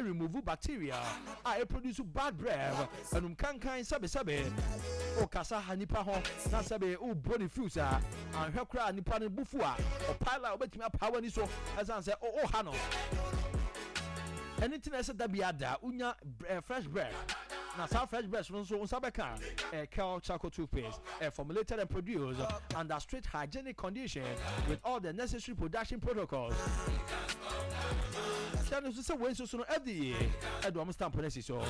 Remove bacteria a ɛproduce bad breath, anum kankan, sɛbesɛbe wokasa ha nipa ho na sɛbe wobɔ ne fuse a, anhwɛ koraa nipa no bo fu a, ɔpae la obetumi apaa w'ani so ɛsan sɛ woha no. Ɛno nti na ɛsɛ da biara da wonya eh, fresh breath. Na saa fresh breath no nso wo nsa bɛka eh, Kel charcoal toothpaste, eh, formulated and produced under strict hygienic condition with all the necessary production protocols. Hyɛ no nso sɛ wei nso so no FDA ɛde wɔn stamp no asi so.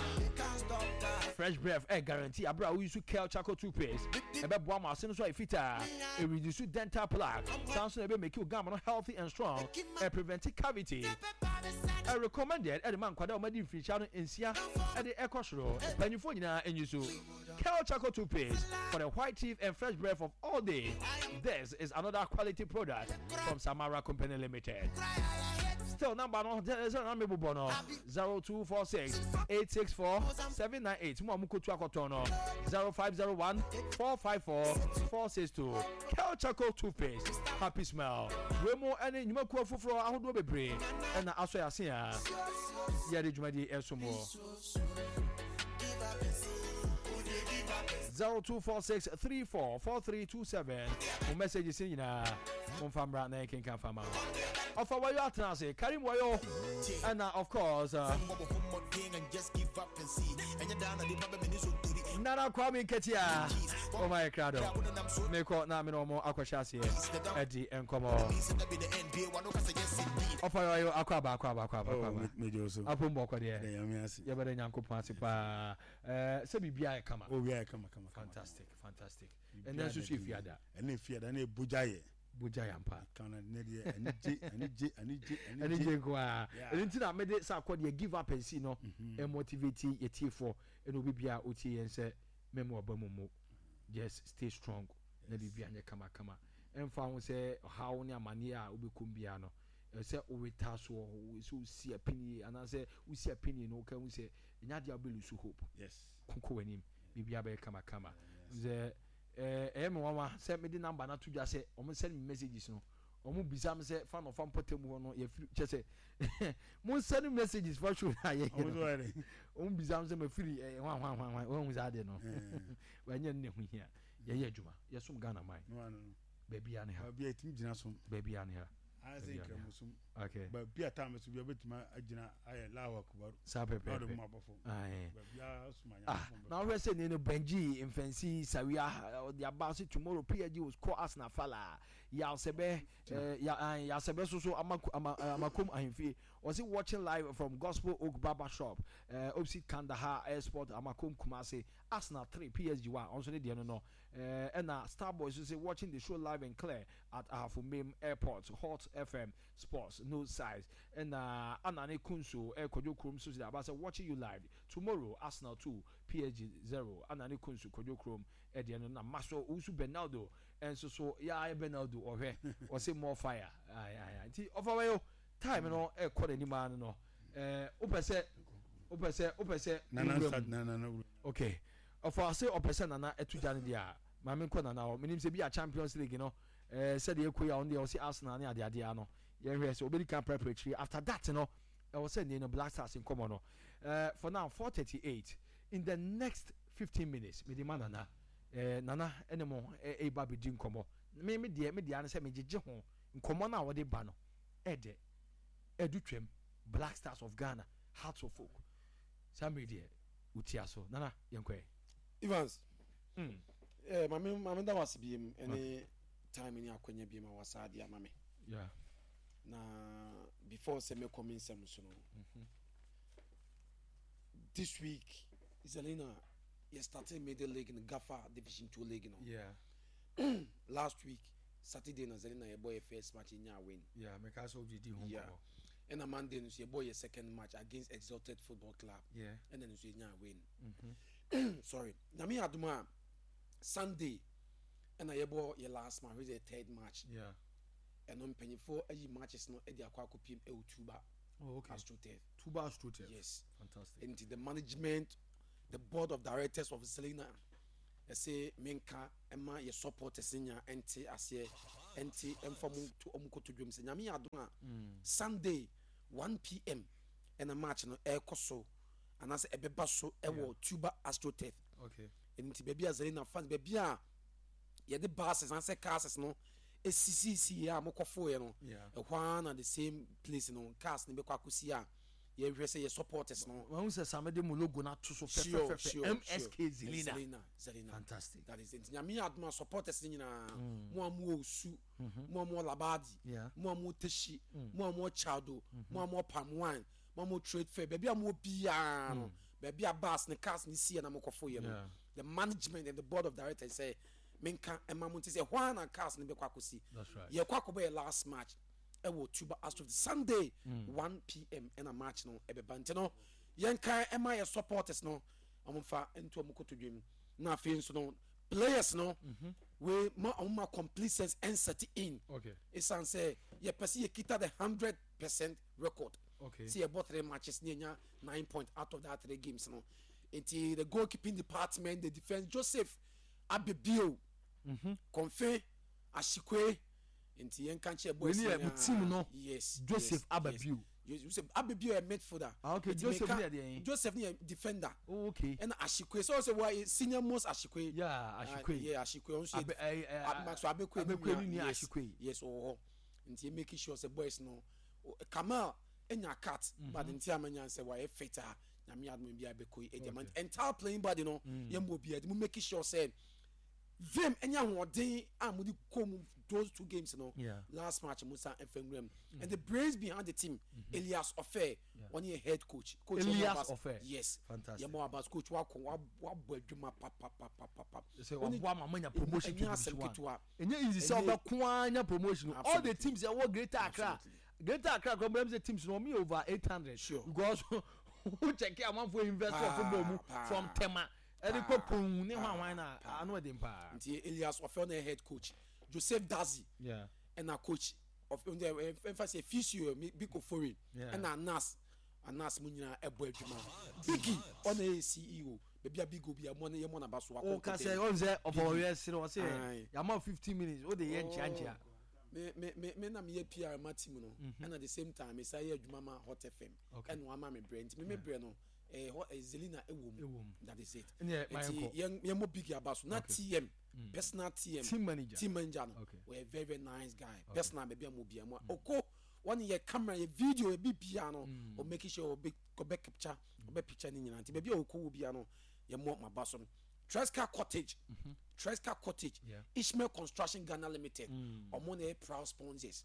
Fresh breath ɛ guarantee abere a woyi so Kel charcoal toothpaste ɛbɛboa ma ase no so ayɛ fitaa, ɛreduce dental plaque, saa nso na ɛbɛ make wo gum no healthy and strong, ɛ prevent cavity. Ɛ recommended ɛde ma nkwadaa a wɔadi mfirihyia no nsia ɛde ɛkɔ soro, mpanyinfoɔ nyinaa nyi so. Kel charcoal toothpaste for the white teeth and fresh breath of all day. This is another quality product from Samara Company Limited. Still number no sɛ na mebobɔ no 0246 864 798 mo a mokotu akɔtɔn no 0501 454 462 Kel Charcoal Toothpaste Happy Smile wei mu ne nnwumakuo foforɔ ahodoɔ bebree ɛna asɔ yɛ ase a yɛde dwumadie ɛsom wɔ. 0246 34 4327 mo messages nyinaa momfa mmra na yɛnkenka fa ma ɔfa wayo atena ase Karim wayo ɛna of course Nana Kwame Nketia ɔma yɛ krado mekɔ na mene ɔmo akɔhyɛ aseɛ ɛdi nkɔmmɔ ɔfa wayo akɔ aba akɔ aba akɔ aba akɔ aba apom bɔkɔ deɛ yɛbɛda Nyankopɔn ase paa sɛ biribiara yɛ kama. Oh, yeah, kama kama. Fantastic, fantastic. Ɛnɛ nso so efiada. Ɛnɛ efiada ɛnɛ ebogya yɛ. Bogya yɛ ampa. Kana ne deɛ anigye anigye anigye anigye. Anigye nko ara. Ɛno nti na mede sɛ akɔ deɛ give up and see no ɛmotivate yɛ tiefoɔ ɛna obi bia otie yɛn sɛ mɛmu aba mu mu just stay strong na biribi anyɛ kama kama ɛmfa ho sɛ ɔhaw ne amaneɛ a wobɛkɔm biara no sɛ woretaa soɔ, sɛ wosi apinie anaasɛ wosi apinie no woka hu sɛ ɛnyɛ adeɛ a wobɛ lose hope. Yes. Koko w'anim, biribiara bɛyɛ kamakama. Sɛ ɛyɛ me nwanwa sɛ mede number no ato dwa sɛ wɔn send me messages no, wɔn bisa me sɛ fa na ɔfa mpɔtam hɔ no yɛfiri kyɛ sɛ mo send me messages fa show na yɛyɛ no. Wɔn bisa me sɛ mafiri ɛɛ hwan hwan hwan hwan wɔn hu saa adeɛ no. Wɔnyɛ no na ɛho hia. Yɛyɛ adwuma, yɛsom Ghana man. Baabi a ne ha. Baabi a ɛtumi gyina som. Baabi a ne ha. Ayɛ sɛ nkramosom. Okay. Baabi a time so bi a bɛtumi agyina ayɛ Allahu Akbar. Saa pɛpɛɛpɛ. Na ɔde mu abɔ fam. Baabi a soma ah, na wohwɛ sɛ ne no Benji Mfɛnsi Sawia ɔde aba sɛ tomorrow PSG will score Arsenal fala. Yasɛbɛ Yasɛbɛ so so ama ama amakom ahemfie. Ɔse watching live from Gospel Oak Barber Shop uh, opposite Kandahar Airport Amakom Kumasi. Arsenal 3 PSG 1 ɔnso ne deɛ no no. Ɛna Starboy nso se watching the show live and clear at Ahafo Mem Airport, Hot FM Sports, no size. Ɛna Anane Kunso eh, Kwadwo Krom nso de aba sɛ watching you live tomorrow Arsenal 2 PSG 0. Anane Kunso Kwadwo Krom ɛdeɛ no na Maxwell Owusu Bernaldo nso so yaa Bernaldo ɔhwɛ ɔse more fire. Ae ae nti ɔfa wɛyo time no ɛkɔ n'anim ara no no eh, wopɛ sɛ wopɛ sɛ wopɛ sɛ nana nana okay. Ɔfa ɔse ɔpɛ sɛ Nana ɛto gya no deɛ a, ma me nkɔ Nana hɔ. Menim sɛ bi a Champions League no eh, sɛdeɛ ɛkɔ yi a ɔno deɛ ɔse Arsenal ne adeadeɛ ano. Yɛnhwɛ sɛ ɔbɛdi kan aprapra akyiri. After that no, ɛwɔ sɛ nie no Black Stars nkɔmmɔ no. Eh, for now, 4:38 in the next 15 minutes, mede ma Nana. Eh, Nana ɛne mo ɛreba abɛdi nkɔmmɔ. Me, me deɛ, me deɛ ara ne sɛ megyegye ho. Nkɔmmɔ no a wɔde ba no, ɛdɛ, ɛdu twam. Black Stars of Ghana, Hearts of Oak. Saa mmere deɛ. Wotia so. Nana, yɛnkɔ ɛ. Evans, mm. eh, mame mame da wase biem ɛne time ne akwanya biem a wasa ade ama me. Yeah. Na before sɛ mɛkɔ me nsɛm so no. Mm -hmm. This week, Zelina, yɛ started middle league no Gafa Division 2 league no. Yeah. Last week, Saturday na Zelina yɛbɔ yɛ first match yɛnya win. Yeah, meka sɛ wodidi ho nkɔmmɔ. Ɛna Monday no nso yɛbɔ yɛ second match against Exalted Football Club. Yeah. Ɛna no nso yɛnya win. Mm-hmm. Sorry. Nyame adom a Sunday ɛna yɛbɔ yɛ last match which is the third match. Yeah. Ɛno mpanyinfoɔ ayi matches no ɛde akɔ akɔpiem ɛwɔ Tuba. Oh, okay. AstroTurf. Tuba AstroTurf. Yes. Fantastic. Nti the management, the board of directors of Selina ɛsɛ menka ɛma yɛ supporters nya ɛnte aseɛ ɛnte ɛmfa ɔmo nto ɔmo kotodwam sɛ Nyame yɛ adom a Sunday 1 pm. Ɛna match no ɛrekɔ so anaasɛ ɛbɛba so ɛwɔ Tuba AstroTurf. Okay. Ɛno nti baabi a Zelina fans baabi a yɛde buses anaasɛ cars no esisisi yɛ a mokɔfoeɛ no ɛhɔ ara na the same place no cars no bɛkɔ akɔsi a yɛhwɛ sɛ yɛ supporters no. Wahu sɛ Same de mo logo no ato so fɛfɛfɛfɛ MSK Zelina. Zelina Zelina. Fantastic. That is nti Nyame yɛ adom a supporters no nyinaa mo a mowɔ Osu mo a mowɔ Labadi mo a mowɔ Teshie mo a mowɔ Chado mo a mowɔ Palm Wine mo a mowɔ Trade Fair baabi a mowɔ biara no baabi a bus ne cars ne siiɛ na mokɔfoeɛ no the management and the board of directors sɛ menka ɛma mo nti sɛ ɛhɔ ara na cars no bɛkɔ akɔsi. Yɛkɔ akɔbɔ yɛ last match ɛwɔ Tuba Astro Sunday 1 pm ɛna match no ɛbɛba nti no yɛnka ɛma yɛ supporters no wɔn fa nto wɔn kotodwe mu na afei nso no players no mm-hmm. we ma wɔn ma complete sense ɛnsɛte in esan sɛ yɛpɛ sɛ yɛkita the 100% record okay. sɛ yɛbɔ three matches ne yɛnya 9 point out of that three games no nti the goalkeeping department, the defence, Joseph Abebio, Kɔnfe Ashikwe, nti yɛn ka nkyɛn boys nyinaa. Wei team no. Yes. Joseph Ababio. Yes, Joseph Ababio yɛ midfielder. Ah, okay. Joseph ne yɛ deɛ. Joseph ne yɛ defender. Oh, okay. Ɛna Ashikwe sɛ ɔsɛ wɔ senior most Ashikwe. Yeah, Ashikwe. Yeah, Ashikwe ɔnso yɛ. Maxwell Abekwe ne nua. Yes, Ashikwe. Yes, ɔwɔ hɔ. Nti yɛ make sure sɛ boys no Kamal enya cut, but nti amanya sɛ wɔayɛ fit a Nyame adom bi abɛkɔ yi ɛdi ama entire playing body no yɛn bɔ bi ɛdi mo make sure sɛ vim ɛnyɛ ahoɔden a mo de kɔ mu those two games no last match mo san ɛfɛ nwura mu and the brains behind the team, Elias Ofe, wɔn yɛ head coach. Coach Elias Ofe, yes, fantastic. Yɛ mo abas coach wakɔ wabɔ adwuma papapapapa. Sɛ waboa ma manya promotion to division one, ɛnyɛ easy sɛ ɔbɛko ara nya promotion. All the teams ɛwɔ Greater Accra, Greater Accra kura mbɛm sɛ teams no wɔn yɛ over 800 because wo check amanfo invest wɔ football mu from Tema ɛde kɔ Pon ne hwan hwan na ano ɛden paa. Nti Elias Ofe na head coach, Joseph Dazi ɛna coach of ɛnfa sɛ physio Biko Foreign ɛna Anas Anas mu nyinaa ɛbɔ adwuma. Biggie ɔna yɛ CEO baabi a Big Obi a mo yɛ mo naba so akɔ. O ka sɛ ɔn sɛ ɔfɔ ɔyɛ sere ɔsɛ yamma 15 minutes o de yɛ nkyia nkyia. Me na meyɛ PR ma team no ɛna the same time me sa yɛ adwuma ma Hot FM ɛna wama me brɛ nti me me brɛ no ɛyɛ hɔ ɛyɛ Zelina ɛwɔ mu, that is it. Nti yɛn yɛn mo Big aba so na TM personal TM team manager, team manager no ɔyɛ very very nice guy personal baabi a mo bia mo ɔkɔ wɔn yɛ camera yɛ video yɛ bi bia no o make sure ɔbɛ ɔbɛ capture ɔbɛ picture ne nyinaa nti baabi a ɔkɔ wɔ bia no yɛ mo ma ba so no. Tresca Cottage, Tresca Cottage, Ishmael Construction Ghana Limited, ɔmo na yɛ proud sponsors.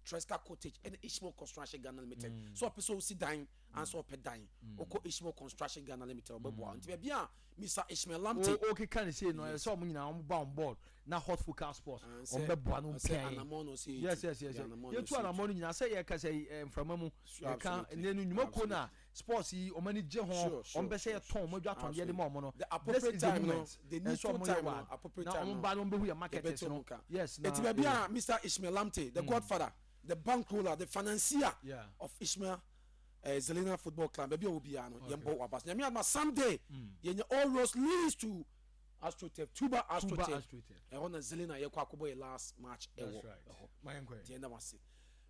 Tresca Cottage ɛna Ishmael Construction Ghana Limited. So ɔpɛ sɛ osi dan ansa ɔpɛ dan, ɔkɔ Ishmael Construction Ghana Limited ɔbɛboa. Nti baabi a Mr Ishmael Lamptey. O keka ne sei no ɛsɛ ɔmo nyinaa ɔmo ba on board na Hot Focal Sports ɔmo bɛ boa no mpia yɛn. Yes, yɛtu anamɔ no nyinaa sɛ yɛ kasa yi nframa mu yɛka ne no nnwumakuo no a sports yi ɔmo ani gye ho, ɔmo pɛ sɛ yɛtɔn ɔmo adwa tɔn deɛ de ma ɔmo no. This is the moment ɛsɛ ɔmo yɛ wa na ɔmo ba no ɔmo bɛhu yɛ marketers no, yes na. Eti baabi a Mr Ishmael Lamptey, the godfather, the bankroller, the financier of Ishmael Zelina Football Club, baabi a wɔ biara no yɛn bɔ waba so. Nyame adoma Sunday yɛnyɛ all roads leads to AstroTurf, Tuba AstroTurf, ɛhɔ na Zelina yɛkɔ akɔbɔ yɛ last match ɛwɔ ɛhɔ. Deɛ ɛnam ase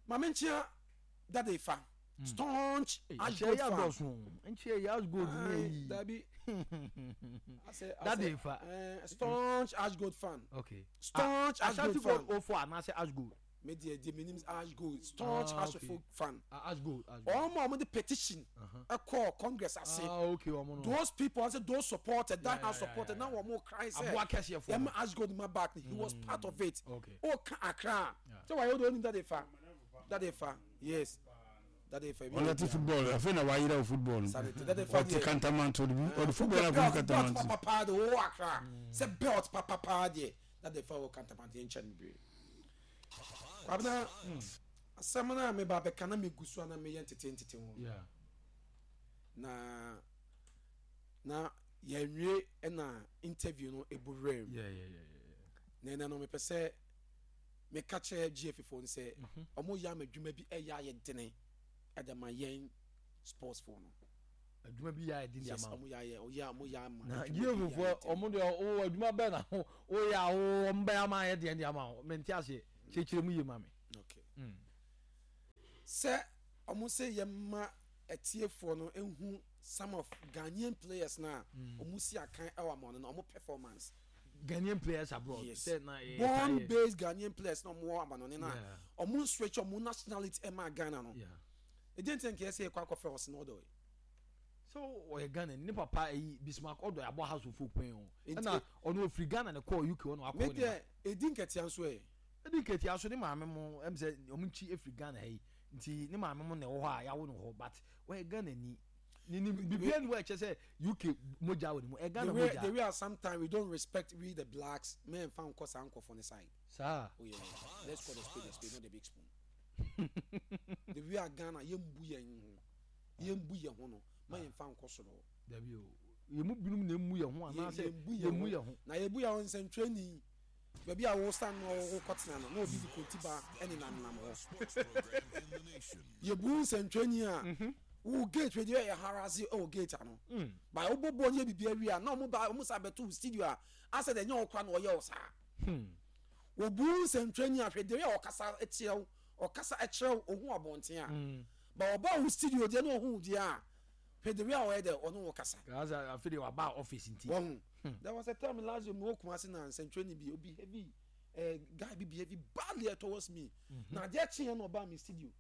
maame nkyia dade fa staunch Ashgold fan. Nkyia yɛ Ashgold ne yi. Dabi. Dade fa. Staunch Ashgold fan. Okay. Staunch Ashgold fan. Ashanti Gold 04 anaasɛ Ashgold. Me deɛ deɛ menim Ashgold, staunch Ashgold fan. Ashgold. Wɔn a wɔn de petition ɛkɔɔ Congress ase. Ah, okay, wɔn no. Those people ase those supported that has supported na wɔn cry sɛ. Aboa kɛseɛ fo. Yɛn Ashgold ma back, he was part of it. Okay. O ka Accra. Sɛ wɔayɛ o de onim dade fa. Dade fa, yes. Dade fa. Ɔna ti football afei na wayerɛ wo football no ɔte kantamanto de bi ɔde football akɔ kantamanto. Belt papapaa de ɔwɔ Accra sɛ belt papapaa deɛ dade fa wɔ kantamanto yɛn nkyɛn bebree. Kwabena, asɛm no a meba bɛka na megu so a na meyɛ ntete ntete ho na yɛnwie ɛna interview no ebu werɛ mu na ɛnɛ no mepɛ sɛ meka kyerɛ GFA foɔ no sɛ ɔmo yɛ ama adwuma bi ɛyɛ ayɛ dene ɛde ma yɛn sports foɔ no. Adwuma bi yɛ ayɛ dene ama ɔmo yɛ ayɛ ɔyɛ ɔmo yɛ ama. Na GFA foɔ ɔmo deɛ ɔwɔ adwuma bɛɛ na ɔyɛ a ɔmo bɛyɛ ama ayɛ deɛ de ama o mente aseɛ kyerɛkyerɛ mu yie ma me. Okay. Sɛ ɔmo sɛ yɛ ma. atiefoɔ no nhu some of Ghanaian players no a ɔmo si akan ɛwɔ amɔno no ɔmo performance. Ghanaian players abroad. Yes. Sɛ na yɛ Born yɛ- based Ghanaian players na ɔmo wɔ amanɔne no Yeah. a ɔmo nswitch ɔmo nationality ɛma Ghana no. Yeah. Ɛdeɛ nti na nka yɛsɛ yɛkɔ akɔfrɛ Hudson Odoi. So ɔyɛ Ghana ni ne papa ɛyi Bismarck Odoi abɔ Hearts of Oak pɛn o. Nti- Ɛna ɔno ofiri Ghana ne kɔɔ UK ɔno akɔ Me ne ma. deɛ ɛdi nkatia nso ɛ. Ɛdi nketewa so ne maame mo ɛm sɛ ɔmo nkyi efiri Ghana ha yi nti ne maame mo na ɛwɔ hɔ a yawo no hɔ, but ɔyɛ Ghana ni ne bibia ni hɔ a ɛkyɛ sɛ UK mogya wɔ ne mu, ɛ Ghana The way mogya. the way a sometimes we don't respect we the blacks, men fa nkɔ saa nkɔfo ne side. Saa. Oh yeah, let's call the spade a spade, not the big spoon. The way a Ghana yɛmbu yɛn ho, yɛmbu yɛn ho no, ma yɛmfa nkɔ soro. Dabi o, yɛn mu binom na emu yɛn ho anaasɛ yɛmbu yɛn mu yɛn ho. Na yɛbu yɛn ho nsɛntwerɛni baabi a wo stand no wo kɔtena no na obi de konti ba ɛne nanam hɔ. Yɛbu nsɛntwerɛni a wo gate wei deɛ yɛ harase ɛwɔ gate ano ba wobɔ bɔɔl ne yɛ biribi awie a na ɔmo ba ɔmo sa bɛto wo studio a asɛ deɛ ɛnyɛ wo kora na ɔyɛ wo saa. Wɔbu nsɛntwerɛni a hwɛ deɛ ɔkasa kyerɛ wo, ɔkasa kyerɛ wo ohun abɔnten a ba ɔba wo studio deɛ na ɔhu deɛ a hwɛ deɛ a ɔyɛ dɛ ɔne wo kasa. Gaza afi de waba office nti. Wɔn there was a time last year mo Kumasi na nsɛntwerɛni bi obi heavy guy bi behave badly towards me na adeɛ kyeɛ na ɔbaa mi studio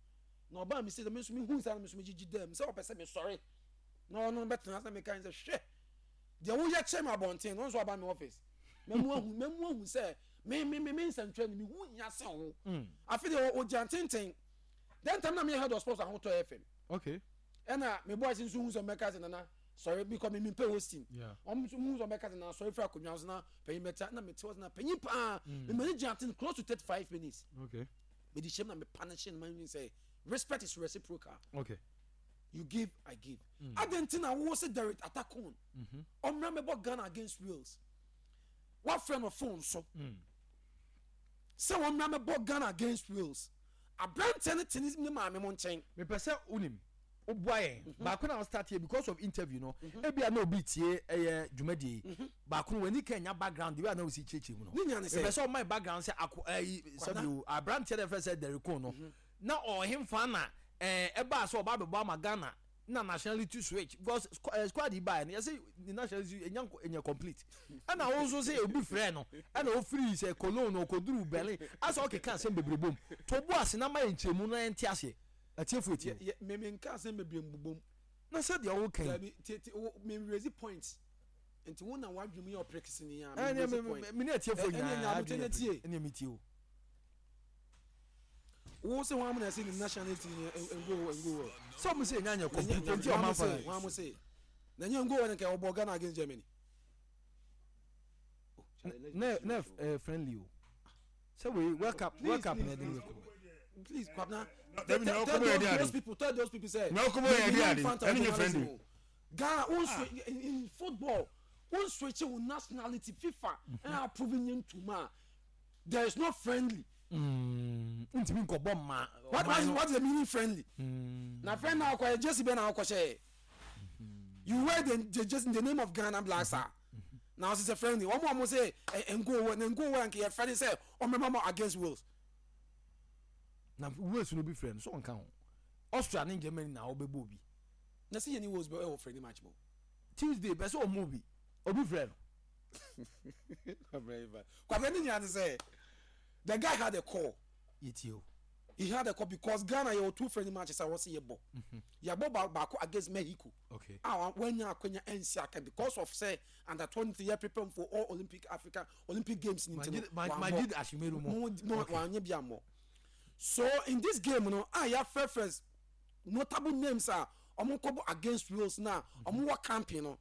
na ɔbaa mi studio, mi nso mi hu nsa na mi nso mi gyigyi dɛm sɛ ɔpɛ sɛ mi sɔre na ɔno bɛtena sɛ mi ka sɛ hwɛ deɛ woyɛ kyerɛ mi abɔnten na ɔno nso aba mi office mɛmu ahu sɛ me nsɛntwerɛni mi hu nya sɛ ho afi deɛ ɔgya tenten. Then time na mi yɛ head of sports Ahotɔ FM. Ɛna me boys nso hu sɛ ɔmɛka sɛ nana sɔre because mi mi pɛ hosting. Ɔmo nso hu sɛ ɔmɛka sɛ nana sɔre firi akonnwa so na panyin bɛta na mi te hɔ sɛ na panyin paa mi ma ne gyina ten close to 35 minutes. Mi di hyɛm na mi punish no ma mi sɛ respect is reciprocal. You give, I give. Adan ti na wo sɛ Derek Atakon ɔmra mɛbɔ Ghana against Wales, wafrɛ no phone so sɛ wɔmmra mɛbɔ Ghana against Wales, aberanteɛ no te ne maame mo nkyɛn. Mepɛ sɛ wonim woboa yɛn baako na start here because of interview no ebia na obi tie ɛyɛ dwumadie yi baako no w'ani ka nya background de bi a na osi kyerɛkyerɛ mu no. Ne nya ne sɛ mepɛ sɛ ɔma background sɛ ako ɛyi sɛbi o, aberanteɛ no yɛfrɛ sɛ Derek no na ɔhemfa na ɛbaa sɛ ɔba abɛbɔ ama Ghana na nationality switch because squad yi baa no yɛsɛ ne nationality enya complete, ɛna wɔn nso sɛ obi frɛ no ɛna ofiri sɛ Cologne na ɔkɔduru Berlin asɛ ɔkeka asɛm bebree bom to bo ase na ma yɛ nkyɛnmu na yɛnte aseɛ, atiefo etie. Me nka asɛm bebree mbobom. Na sɛ deɛ ɔwɔ kan. Dabi, tie tie, wo me raise point nti wo na wadwene mu yɛ ɔpere kesene a me ɛne raise point. Me ne atiefo Ɛne nyinaa nya abotire na tie. Ɛne mi tie o. Wo sɛ wɔn amuna sɛ ne nationality ni ngo ngo wɔ. Sɛ ɔmo sɛ enya nyɛ complete nti ɔmo afa. Wɔn mo se na nye ngo wɔ ne nka ɔbɔ Ghana against Germany. Oh, Charlie, let's be Ne serious, ne friendly o sɛ wei World Cup, World Cup na ɛde ne kɔ. oh. Please, Kwabena, Dabi, tell, na tell ɔkɔbɔ yɛ those, di ade. those people, tell those people say Na ɔkɔbɔ yɛ di ade. Ɛne nyɛ friendly. Ghana won switch in football, won switch wo nationality, FIFA ɛna approve nye ntoma, there is no friendly. Ntumi nkɔbɔ mma. What is the meaning friendly? Na friend na akɔ jersey bɛ na akɔ hyɛ, you wear the jersey in the name of Ghana Black Star na ɔsɛ sɛ friendly. Wɔn a wɔn sɛ ɛ ngo wɔ na ngo wɔ nka yɛ friendly sɛ ɔmɛma mo against Wales. Na Wales no bi frɛ no so ɔnka ho, Austria ne Germany na ɔbɛbɔ obi. Na sɛ yɛ ni Wales bɛ ɛwɔ friendly match mo. Tuesday bɛ sɛ ɔmo bi obi frɛ no. Kwabena ne nyinaa ne sɛ the guy had a call. Yɛtie o. He had a call because Ghana yɛ wɔ two friendly matches a wɔsi yɛ bɔ, yɛbɔ baako against Mexico a wanya akonya ɛnsi aka because of say under 20 yɛ prepare for all Olympic Africa Olympic Games ni nti no. Majid Ashimeru mo. Mo wanyɛ bi amɔ. So in this game no a yɛafrɛfrɛ notable names a ɔmo nkɔbɔ against Wales na ɔmo wɔ camping no,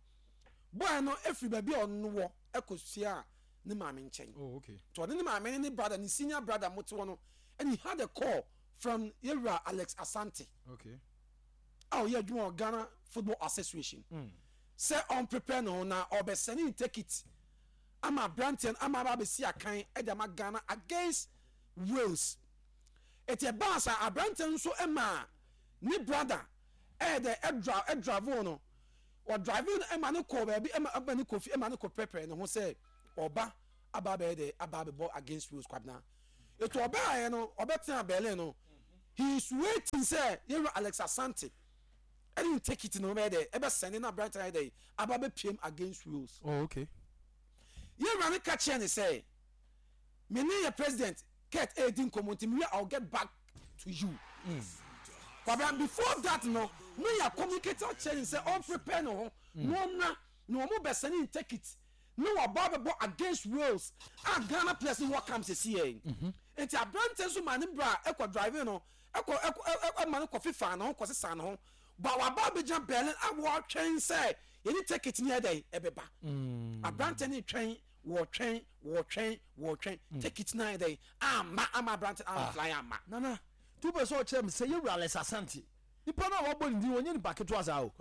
boy no efiri baabi a ɔno wɔ ɛkɔ sua ne maame nkyɛn. Oh, okay. To ɔne ne maame ne ne brother, ne senior brother mo te hɔ no, and he had a call from yewura Alex Asante a ɔyɛ adwuma wɔ Ghana Football Association sɛ ɔn prepare ne ho na ɔbɛsɛne ne ticket ama aberanteɛ no ama aba abɛsi akan ɛde ama Ghana against Wales. Eti ɛbaa sa aberanteɛ no nso ɛma ne brother ɛyɛ dɛ ɛdra ɛdrave no, ɔdrave no ɛma ne kɔ baabi ɛma ne kɔ fi ɛma ne kɔ prepare ne ho sɛ ɔba aba abɛyɛ dɛ aba abɛbɔ against Wales. Kwabena, etu ɔbaa yɛ no ɔbɛtena Berlin no, he is waiting sɛ yɛwura Alex Asante. Ɛne ne ticket no bɛyɛ dɛ ɛbɛ sɛne na aberante no ayɛ dɛ aba bɛ piem against Wales. Oh okay. Yɛn wura no ka kyerɛ ne sɛ me ne yɛ president Kurt ɛredi nkɔmmɔ nti mewie I will get back to you. Mm. Kwabena before that no ne yɛ communicate akyerɛ ne sɛ ɔn prepare ne ho mm. na ɔmmra na wɔn bɛ sɛne ne ticket na waba abɛbɔ against Wales a Ghana players no wɔ camp sɛsi yɛ. Mm-hmm. Nti aberante nso maa ne bra ɛkɔ driving no ɛkɔ ɛkɔ ɛma no kɔ fifa ne ho kɔ sesa ne ho ba waba abɛgyina Berlin a wɔtwɛn sɛ yɛne ticket ne ɛdɛn ɛbɛba mm. aberante ne twɛn wɔtwɛn wɔtwɛn wɔtwɛn mm. ticket no ayɛ dɛn ama ama aberante no ah. fly ama. Nana tu pɛ sɛ ɔkyerɛ me sɛ yɛwura Alex Asante nipa no a wabɔ ne din ɔnyɛ nipa ketewa saa o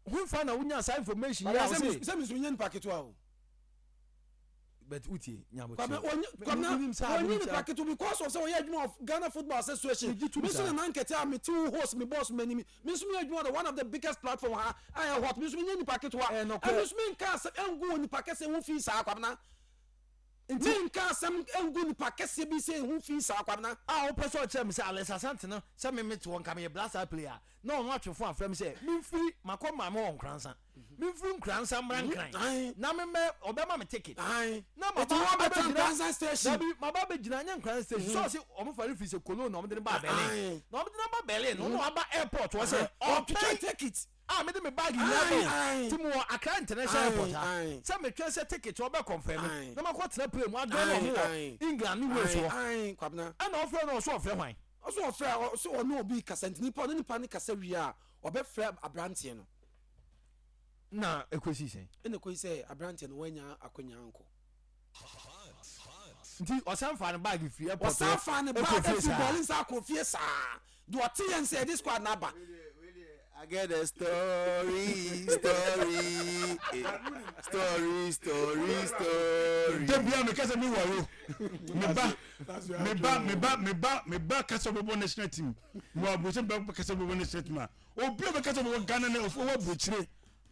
hemfa na wonya saa information yi a wose sɛ me nso menyɛ nipa ketewa o but wotie nyabotrɛ kwabena ɔnyɛ nipa ketewa because of sɛ ɔyɛ adwuma of Ghana Football Association me nso nana nkɛtɛ a mete wo host me boss m'anim me nso meyɛ adwuma the one of the biggest platform ha a ɛyɛ hot me nso menyɛ nipa ketewa ɛmi nso menka asɛm ɛngu wɔ nipa kɛseɛ ho fi saa kwabena menka asɛm ɛngu nipa kɛseɛ bi sɛ ho fi saa kwabena a wopɛ sɛ ɔkyerɛ me sɛ Alex Asante no sɛ me mete hɔ nka meyɛ blaster player na ɔno atwe fo afrɛ me sɛ memfiri makɔ maame wɔ Nkoransa memfiri Nkoransa mmra Nkran na memmɛ ɔbɛma me ticket na maba abɛgyina dabi maba abɛgyina nyɛ Nkoransa station sɛ ɔse ɔmo fa no firi sɛ Cologne na ɔmo de no baa Berlin na ɔmo de no aba Berlin no na waba airport hɔ sɛ ɔtwɛn ticket a mede me bag nyinaa ba o nti mewɔ Accra International Airport ha sɛ metwɛn sɛ ticket ɔbɛ confirm na makɔ tena plane mu adɔn na ɔmo wɔ England ne Wales hɔ ɛna ɔfrɛ no ɔso ɔfrɛ hwan. Ɔso ɔfrɛ ɔso ɔne obi kasa nti nipa ɔne nipa no kasa wie a ɔbɛfrɛ abranteɛ no. Na ɛkɔsii sɛn? Ɛna ɛkɔsi sɛ aberanteɛ no wannya akwanya ankɔ. Nti ɔsan faa ne bag firi airport hɔ Ɔsan faa ne bag kɔɔ fie firi saa? Berlin san kɔɔ fie saa. Deɛ ɔte yɛn sɛ yɛde squad no aba. I get a story, story, eh, story, story, story. Da bia meka sɛ me ware o. Me ba, me ba, me ba, me ba, me ba ka sɛ ɔbɛbɔ national team. Mewɔ aburokyire me ba ka sɛ ɔbɛbɔ national team a, obi a ɔbɛka sɛ ɔbɛbɔ Ghana na ɔwɔ aburokyire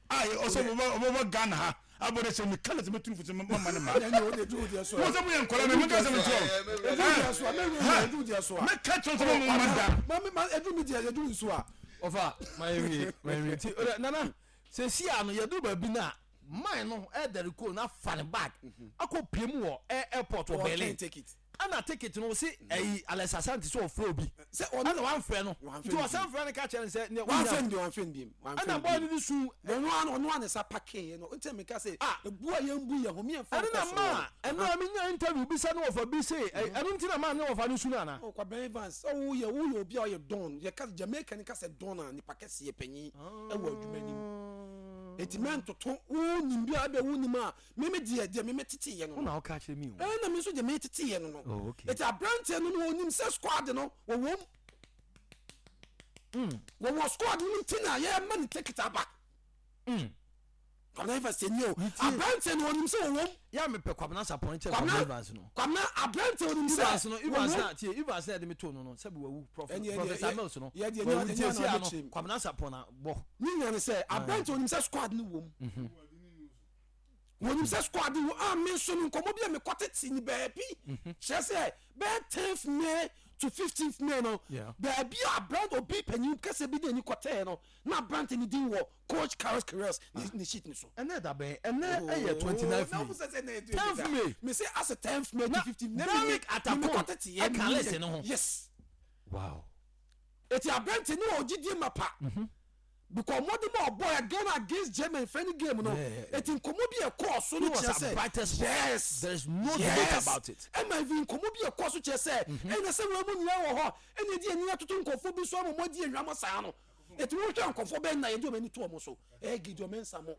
a ɔsɛ ɔbɛbɔ Ghana ha abɔ dɛ sɛ meka na sɛ mɛtu fo sɛ mama ne ma mo sɛ moyɛ nkɔla me meka sɛ mekyerɛ mɛka kyerɛ sɛ mama da ɔfa mayɛwie mayɛwie nti nana sɛ si a no yɛduru baabi no a man no ɛdɛre ko na fa ne bag akɔ pie mu wɔ airport wɔ Berlin Ɛna ticket no ɔse ɛyi Alex Asante sɛ ɔfrɛ obi Sɛ ɔno ɛna wamfrɛ no Wamfrɛ nti no ɔsan bio. frɛ no ka kyerɛ no sɛ nea wonya Wamfrɛ no bio, wamfrɛ no bio, wamfrɛ ɛna no boy bio. no de su Ɔno ara ɔno ara ne nsa pakeeɛ no nti na meka sɛ Ah ebu a yɛmbu yɛn ho me yɛmfa ɛno nkɔ na soro maa no. ɛno a menya interview bi sɛ ne wɔfa bi se ɛ ɛno nti na maa ne wɔfa no su no anaa? Oh Kwabena Evans sɛ woyɛ woyɛ obi a ɔyɛ don yɛka Jamaica ni ka sɛ don a nipa kɛseɛ panyin ɛwɔ adwuma nim eti mɛntoto wonim bi a ɛbɛ wonim a Me me deɛ, deɛ me me tete yɛ no Wo no. na woka kyerɛ me o. Ɛɛ na me nso deɛ me tete yɛ no no. Oh, okay. Eti aberanteɛ no no onim sɛ squad no wɔwɔ mu. Wɔwɔ squad no mu nti na yɛma ne ticket aba. Kwabena Evans ni o. Aberanteɛ no onim sɛ wɔwɔ mu. Yɛ a mepɛ Kwabena Sarpong kyɛn Kwabena Evans no. Kwabena aberanteɛ onim sɛ Evans no Evans wɔwɔ mu. na tie Evans na yɛde me too no no sɛbi wawu Prof Ɛne ɛdeɛ Professor yɛ Mills no yɛ deɛ wawu ɛnyɛ nti ɛnyɛ esi na ano ɔbɛkyerɛ mu. Kwabena Sarpong na bɔ. Ne nyina ne sɛ aberanteɛ onim sɛ squad no wɔ mu. Wɔnim sɛ squad no a me nso no nkɔmmɔ bi a mekɔ tete ne baabi kyerɛ sɛ bɛyɛ 10th May to 15th May no baabi a aberante obi panyin kɛseɛ bi de ani kɔtɛɛ no na aberante ne din wɔ coach Carlos Queiroz ne sheet no so. Ɛnɛ da bɛn? Ɛnɛ ɛyɛ 29th May. 10th May. Me say as 10th May to 15th May. Derek Atakon ɛka list no ho. Yes. Wow. Eti aberante no wɔ gyidie mapa. Because mmɔden a ɔbɔɔ yɛ Ghana against Germany friendly game no, eti nkɔmɔ bi a ɛkɔɔ so no kyerɛ sɛ yes, there is no yes, debate about it. Ɛma even nkɔmɔ bi a ɛkɔɔ so kyerɛ sɛ ɛna sɛ wɔn mu nyinaa wɔ hɔ ɛna ɛdi ani atoto nkɔfoɔ bi so ama wɔn adi ehwamɔ saa no. Eti wɔhwɛ nkɔfoɔ bɛn na yɛde wɔn ani to wɔn so? Ɛyɛ Gideon Mensah mo.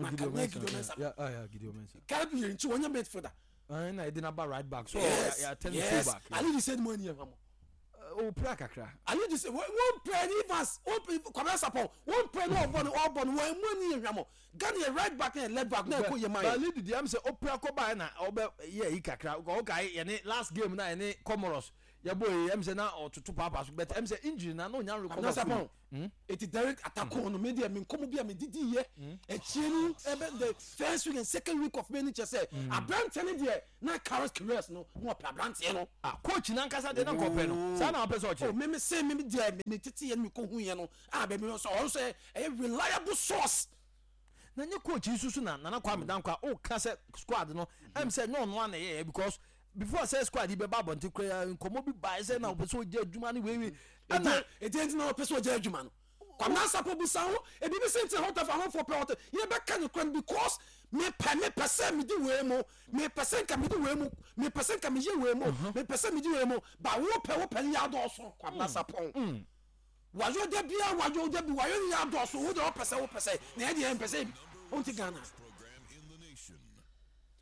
Na Gideon ka nyɛ Mensah, Gideon Mensah. yeah, yeah, yeah, Gideon Mensah. Caleb Yirenkyi wɔnyɛ midfielder. Ɛna yɛde no aba right back so Yes, yɛ attend yes. full back. Ali de sɛ ni mo ani ehwamɔ. Opira kakra. Ayi de sɛ wɔn pɛ ni Evans wɔn pɛ Kwabena Sarpong wɔn pɛ ni ɔbɔ no ɔbɔ no wɔn mu ani yɛ hwamɔ Ghana yɛ right back na yɛ left back na ɛkɔ yɛ man yɛ. Bali didi am sɛ opira kɔ ba na ɔbɛ yɛ yi kakra ɔka yɛ ne last game na yɛ ne Comoros. Yɛbɔ yi ɛm sɛ na ɔtoto paapaa so but ɛm sɛ injury na na onya recover fully. Hmm? Eti Derek Atakon no me deɛ me nkɔmɔ bi a me didi yɛ hmm? akyire no ɛbɛ the first week and second week of May no kyɛ sɛ hmm. aberanteɛ no deɛ na Carlos Queiroz no na ɔpɛ aberanteɛ no. Ah coach nankasa deɛ na nkɔpɛ no saa na ɔpɛ sɛ ɔkyerɛ. Oh me me se me deɛ me tete yɛ no me kɔ hu yɛ no a baabi no sɛ ɔno sɛ ɛyɛ reliable source. Na nye coach yi soso na Nana Kwame Dankwa o ka sɛ squad no ɛm sɛ nyɛ ɔno ana ɛyɛyɛ because before sɛ squad yi bɛba abɔnten koraa nkɔmɔ bi bae sɛ na ɔpɛ sɛ ɔgya adwuma no wei wei ɛna ɛdeɛ nti na ɔpɛ sɛ ɔgya adwuma no Kwame Asafo bisa ho ebi bi sɛ nti na hɔtafo ahofoɔ pɛ hɔtɛ yɛbɛka no kora no because mepɛ mepɛ sɛ medi wei mu mepɛ sɛ nka medi wei mu mepɛ sɛ nka meyɛ wei mu mepɛ sɛ medi wei mu ba wopɛ wopɛ no yɛ adɔɔso Kwame Asafo Wayo da bia wayo da bi wayo no yɛ adɔɔso wo deɛ wopɛ sɛ wopɛ sɛ na yɛ deɛ yɛmpɛ sɛ wonte Ghana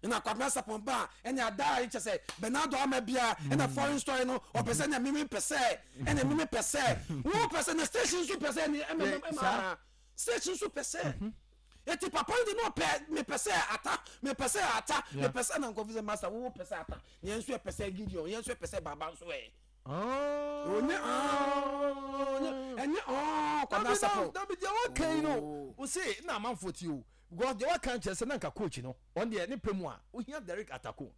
ɛna Kwabena Sapon ba ɛne ada a kyɛ sɛ Bernardo ama bia ɛna mm. foreign story no ɔpɛ sɛ ɛna meme pɛ sɛ ɛna meme pɛ sɛ wo pɛ sɛ na station nso pɛ sɛ ɛne ɛma ɛma station nso pɛ sɛ mhm. eti papa no de no ɔpɛ mepɛ sɛ ata mepɛ sɛ ata mepɛ sɛ na nkɔfo sɛ master wo pɛ sɛ ata yɛn nso yɛ pɛ sɛ Gideon yɛn nso yɛ pɛ sɛ baba nso ɛ. Onye onye ɛnyɛ ɔɔ Kwabena Asafo. Dabi deɛ waka yi no o se na amanfoɔ tie o because deɛ waka nkyerɛ sɛ na nka coach no ɔn deɛ ne pɛ mu a ohia Derek Atako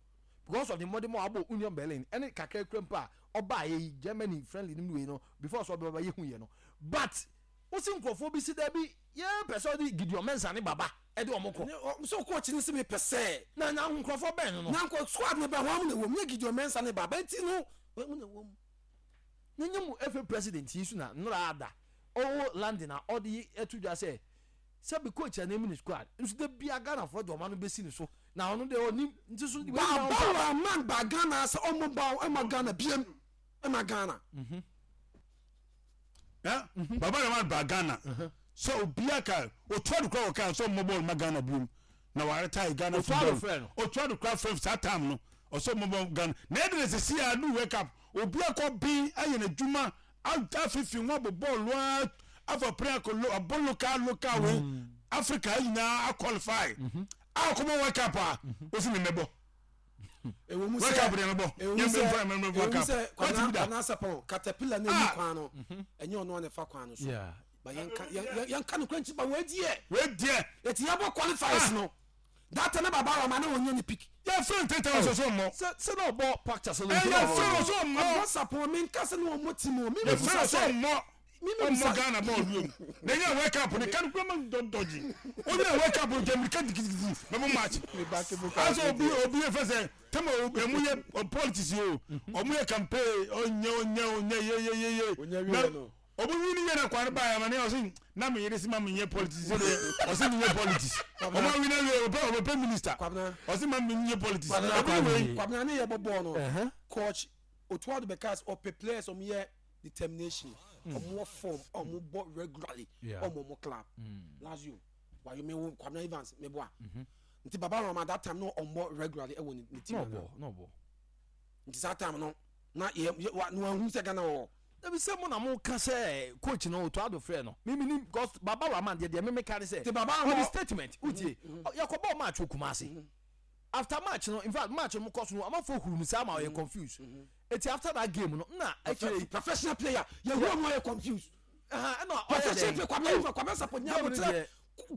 because of the mmɔden mu a wabɔ Union Berlin ɛne kakra kura mpo a ɔbaa yɛ yi Germany friendly no wei no before sɛ ɔbɛba yɛ hu yɛ no but wosi nkurɔfoɔ bi si dabi yɛ pɛ sɛ ɔde Gideon Mensah ne Baba ɛde wɔn kɔ. So coach no se mepɛ sɛ. Na na nkurɔfoɔ bɛn no no. Na nkɔ squad no bɛn wɔn na ɛwɔ mu nyɛ Gideon Mensah ne Baba nti no wɔn na ɛwɔ mu. Na nyɛ mu FA president yi so na nnora ada ɔwɔ London a ɔde yi ɛto dwa sɛ sɛbi coach a n'anim ne squad nso da bia Ghanafoɔ de wɔn ano bɛsi ne so na ɔno deɛ ɔnim nti so. Baba Rahman ba Ghana sɛ ɔmo ba ɛma Ghana biem ɛma Ghana. Mm -hmm. Eh? Mhm. Baba Rahman ba Ghana. Mhm. Sɛ obiara ka otua do kora wɔka sɛ ɔmmɔ bɔɔl ma Ghana biom na wɔaretae Ghana football. Otua do kora frɛ saa time no ɔsɛ ɔmmɔ bɔɔl Ghana. Na ɛde na sisi a do World Cup obiara kɔ bin ayɛ n'adwuma afifi ho abɔ bɔɔl a afa pere akɔ lo abɔ local local wei mm. Africa nyinaa aqualify mhm. a ɔkɔbɔ World Cup a osi ne mɛbɔ. Ɛwɔ mu sɛ ɛwɔ mu sɛ ɛwɔ mu sɛ Kwabena Kwabena Sapɔn katapila na emu kwan no ɛnyɛ ɔno na ɛfa kwan no so ba yɛn ka yɛn yɛn ka no kwan ti ba wɔ adiɛ wɔ adiɛ eti yɛ bɔ qualifiers no data ne baba rama ne wɔnyɛ ne pick. Yɛ fɛn tete wɔ soso mmɔ. Sɛ sɛ na ɔbɔ pacta sɛ lɔn. Ɛyɛ fɛn wɔ so mmɔ. Kwabena Sapɔn mi nka sɛ ne wɔn mɔ ti mu mi mi busa sɛ. Yɛ fɛn wɔ so mmɔ. Ɔmmɔ Ghana bɔɔl bio na ɛnyɛ World Cup no kan kura ma dɔgye ɔnyɛ World Cup no gyammirika gidigidi bɛbɔ match asɛ obi obi yɛ fɛ sɛ tɛma ɔmo yɛ politics yi o ɔmo yɛ campaign ɔnyɛ ɔnyɛ ɔnyɛ ye ye ye ye na ɔmo wi ni yɛ na kwan ba yɛ ma ne ɔsi na mi yere si ma mi nyɛ politics sɛ deɛ ɔsi mi nyɛ politics ɔmo awi na wie ɔpɛ ɔbɛpɛ minister ɔsi ma mi nyɛ politics ɔbi wei. Kwabena ne yɛ bɔ bɔɔl no coach Otuado bɛka sɛ ɔpɛ players ɔmo yɛ determination ɔmo wɔ form a ɔmo bɔ regularly ɔmo ɔmo club Lazio wayo me wo Kwabena Evans me boa nti Baba Rama that time no ɔmo regularly ɛwɔ ne team na nti saa time no na yɛ yɛ wa na wahu sɛ Ghana wɔ. Dabi sɛ mo na mo ka sɛ coach no Otto Addo frɛ no me menim because Baba Rahman deɛ deɛ me me ka ne sɛ ɔde statement wotie yɛkɔ bɔɔ match wɔ Kumasi after match no infact match no mo kɔ so no amanfoɔ huru no saa ma ɔyɛ confuse eti after that game no na akyire yi. Professional player yɛ hu ɔmo ayɛ confuse. Ɛna ɔyɛ dɛn professional player Kwabena Ifa Kwabena Sapɔ nya abotrɛ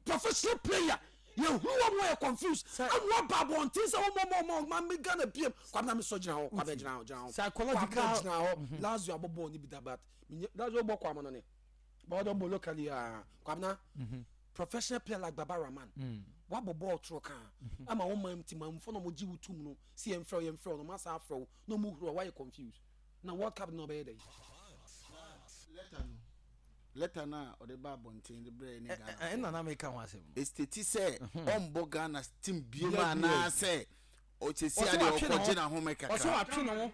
professional player yɛ hu ɔmo ayɛ confuse ɛna ɔba abɔnten sɛ ɔmo ɔmo ɔmo ɔmo mi Ghana biem Kwabena mi sɔ gyina hɔ Kwabena gyina hɔ gyina hɔ psychological Kwabena gyina hɔ Lazio abɔ bɔɔl ni bi da but Lazio bɔ kɔ amano ne bɔɔl dɔ bɔ locally aa Kwabena. Professional player like Baba Rahman, wabɔ bɔɔl toro kaa ama wo man ti manfo na wɔgye wo tum no si yɛn frɛ wo yɛn frɛ wo na wɔn asa afrɛ wo na wɔn huru a wayɛ confused na World Cup no ɔbɛyɛ dɛ. Letter no letter no a ɔde ba abɔnten de brɛ ne Ghana. Ɛna na meka ho asɛm no. Esteti sɛ ɔmbɔ Ghana team biem anaasɛ Ɔsɛsi adeɛ ɔkɔgye n'ahome kakra. Ɔsɛ watwe ne ho.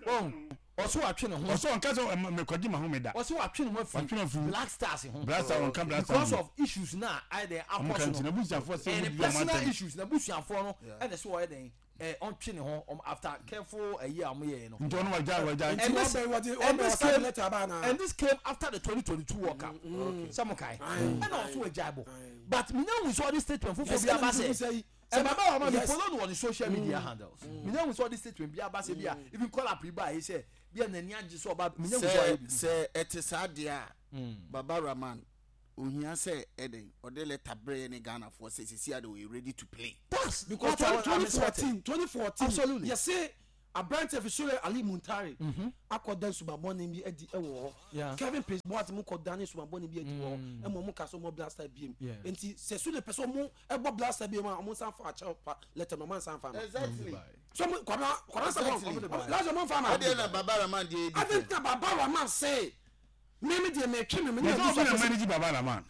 Wɔn ɔsɛ watwe ne ho. Ɔsɛ ɔnka sɛ mekɔgye m'ahome da. Ɔsɛ watwe ne ho afiri Black Stars ho. Black Stars ɔnka Black Stars because of issues na ayɛ dɛn akɔ so no. N'abusuafoɔ sɛ ɛne personal issues n'abusuafoɔ no ɛna sɛ ɔyɛ dɛn ɛ ɔntwe ne ho after careful ɛyi a wɔn yɛ no. Nti ɔno wagya wagya. And this and this came and this came after the 2022 World Cup. Sɛ mo kae ɛna ɔso wagya bɔ but minya hu sɛ ɔde statement foforɔ bi aba sɛ. Sɛ baba wa ma mi follow no wɔ ne social media handles. Mi nya hu sɛ ɔde statement bi aba sɛ bi a even call up yi ba yi sɛ Bi a n'ani agye sɛ ɔba menya hu sɛ ɔayɛ Sɛ biribi. sɛ ɛte saa deɛ a, Baba Rahman, ohia sɛ ɛdɛn, ɔde letter brɛ yɛne Ghanafoɔ sɛ seesei ara deɛ ɔyɛ ready to play. That's Because what I, I'm 2014 expecting. 2014 Absolutely. yɛse aberanteɛ fi Sule Ali Muntari akɔda nsumabɔne bi adi wɔ hɔ. Kevin Prince Boateng mu kɔdane nsumabɔne bi adi wɔ hɔ ɛma ɔmo ka sɛ ɔmo Black Star biem. Nti sɛ Sule pɛ sɛ ɔmo ɛbɔ Black Star biem a, ɔmo nsan fa akyɛw pa letter no, ɔmo ansan fa ama. Exactly. So ɔmo Kwabena Kwabena Sarpong Exactly. last ɔmo nfa ama. Ɛdeɛ na Baba Rahman deɛ yɛ Adɛn different. nti na Baba Rahman se me me deɛ metwe me me ne Yɛsɛ obi na abusuafo sɛ manage Baba Rahman.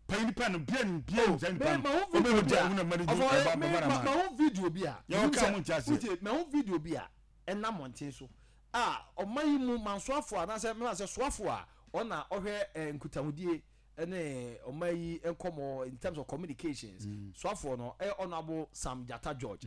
Panyin nipa no bia ni bia ni saa nipa Me no. ma ho Obi video na bi a obi na manage ɔfɔ Baba me Baba ma Rahman. ma ho video bi a Yɛ menim ɔka sɛ mo nti aseɛ. wotie ma ho video bi a ɛnam mmɔnten so a ɔman yi mu mansoafo anaasɛ mema sɛ soafo a ɔna ɔhwɛ eh, nkutahodie ne ɔman yi nkɔmɔ in terms of communications soafoɔ no ɛyɛ Honourable Sam Gyata George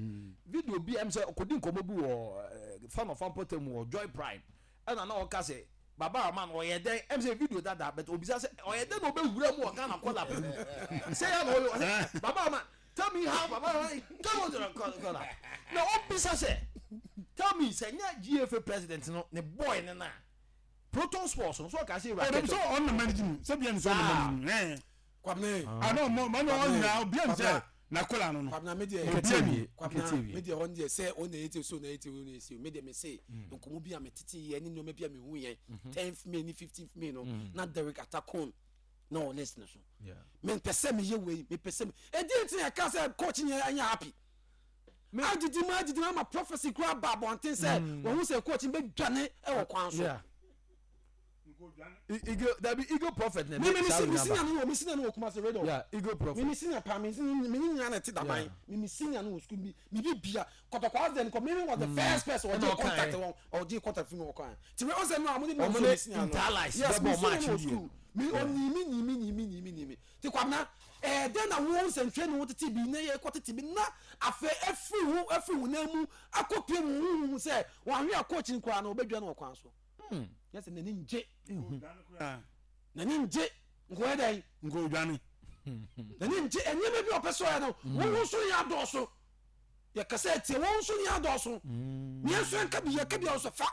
video bi a ɛm sɛ ɔkɔdi nkɔmɔ bi wɔ eh, fan of ampɔtam mu wɔ Joy Prime ɛna na ɔka sɛ Baba Rahman ɔyɛ dɛn ɛm sɛ video dada but obisa sɛ ɔyɛ dɛn na ɔbɛwura mu wɔ Ghana kɔla pɛ mu sɛ yɛ na ɔyɛ ɔsɛ Baba Rahman tell me how Baba Rahman come on to the kɔla na ɔbisa sɛ tell me sɛ nyɛ GFA president no ne boy ne na Proton Sports no so ɔka sɛ ewura Ɔdɛm sɛ kɛtɛ ɔno na manage no sɛ bia ni sɛ ɔno na manage no. Ɛɛ. Kwabena Ana ɔmo ɔmo ɔnyina obi ani sɛ n'akɔla no no. Kwabena me deɛ Obi ani. Kwabena me deɛ hɔ deɛ sɛ ɔna yɛ ti so na yɛ ti ɔna yɛ si me deɛ me se nkɔmɔ bi a me tete yɛ ne nneɛma bi a me hu yɛ 10th May ne 15th May no na Derek Atakon na ɔwɔ list no so me mpɛ sɛ me yɛ wei me pɛ sɛ me edi nti na ɛka sɛ coach nyɛ ɛnyɛ happy adidi mu adidi mu ama prophecy kura ba abɔnten sɛ wɔn ho sɛ coach bɛ dwane ɛwɔ kwan so. Yeah. Eagle dabi Eagle prophet na mi de mi saa si mi wei senior naba. no wɔ mi senior no wɔ Kumasi radio. Yeah, Eagle prophet. Mi mi senior paa mi mi mi nyina na ɛte daban Yeah. mi mi senior no wɔ sukuu mi mi bi bia kɔtɔkɔ accident kɔ mi mi was the first person Ɛna ɔgye ɔkae. contact wɔn ɔgye contact fi mi wɔ kwan ti mi ɔsɛ no a mo de mi Ɔmo nso ne mi senior no Interallies yes mi bɛbɔ senior match no wɔ wie. sukuu mi ɔnyi mi nyi mi nyi mi nyi mi nyi mi ti kwamina ɛɛ den na wo nsɛntwerɛ ne wo tete bi ne yɛ kɔ tete bi na afɛ efiri wo efiri wo nan mu akɔ pie mu huhu sɛ wɔn ahwɛ a coach nkura no ɔbɛdwa no wɔ kwan so yɛ sɛ n'ani ngye n'ani ngye nkɔyɛ dɛn Nko dwane. N'ani ngye nneɛma bi a ɔpɛ sɛ ɔyɛ no wɔn nso yɛ adɔɔso yɛkasa atie wɔn nso yɛ adɔɔso yɛn nso yɛnka bi yɛka bi a ɔsɛ fa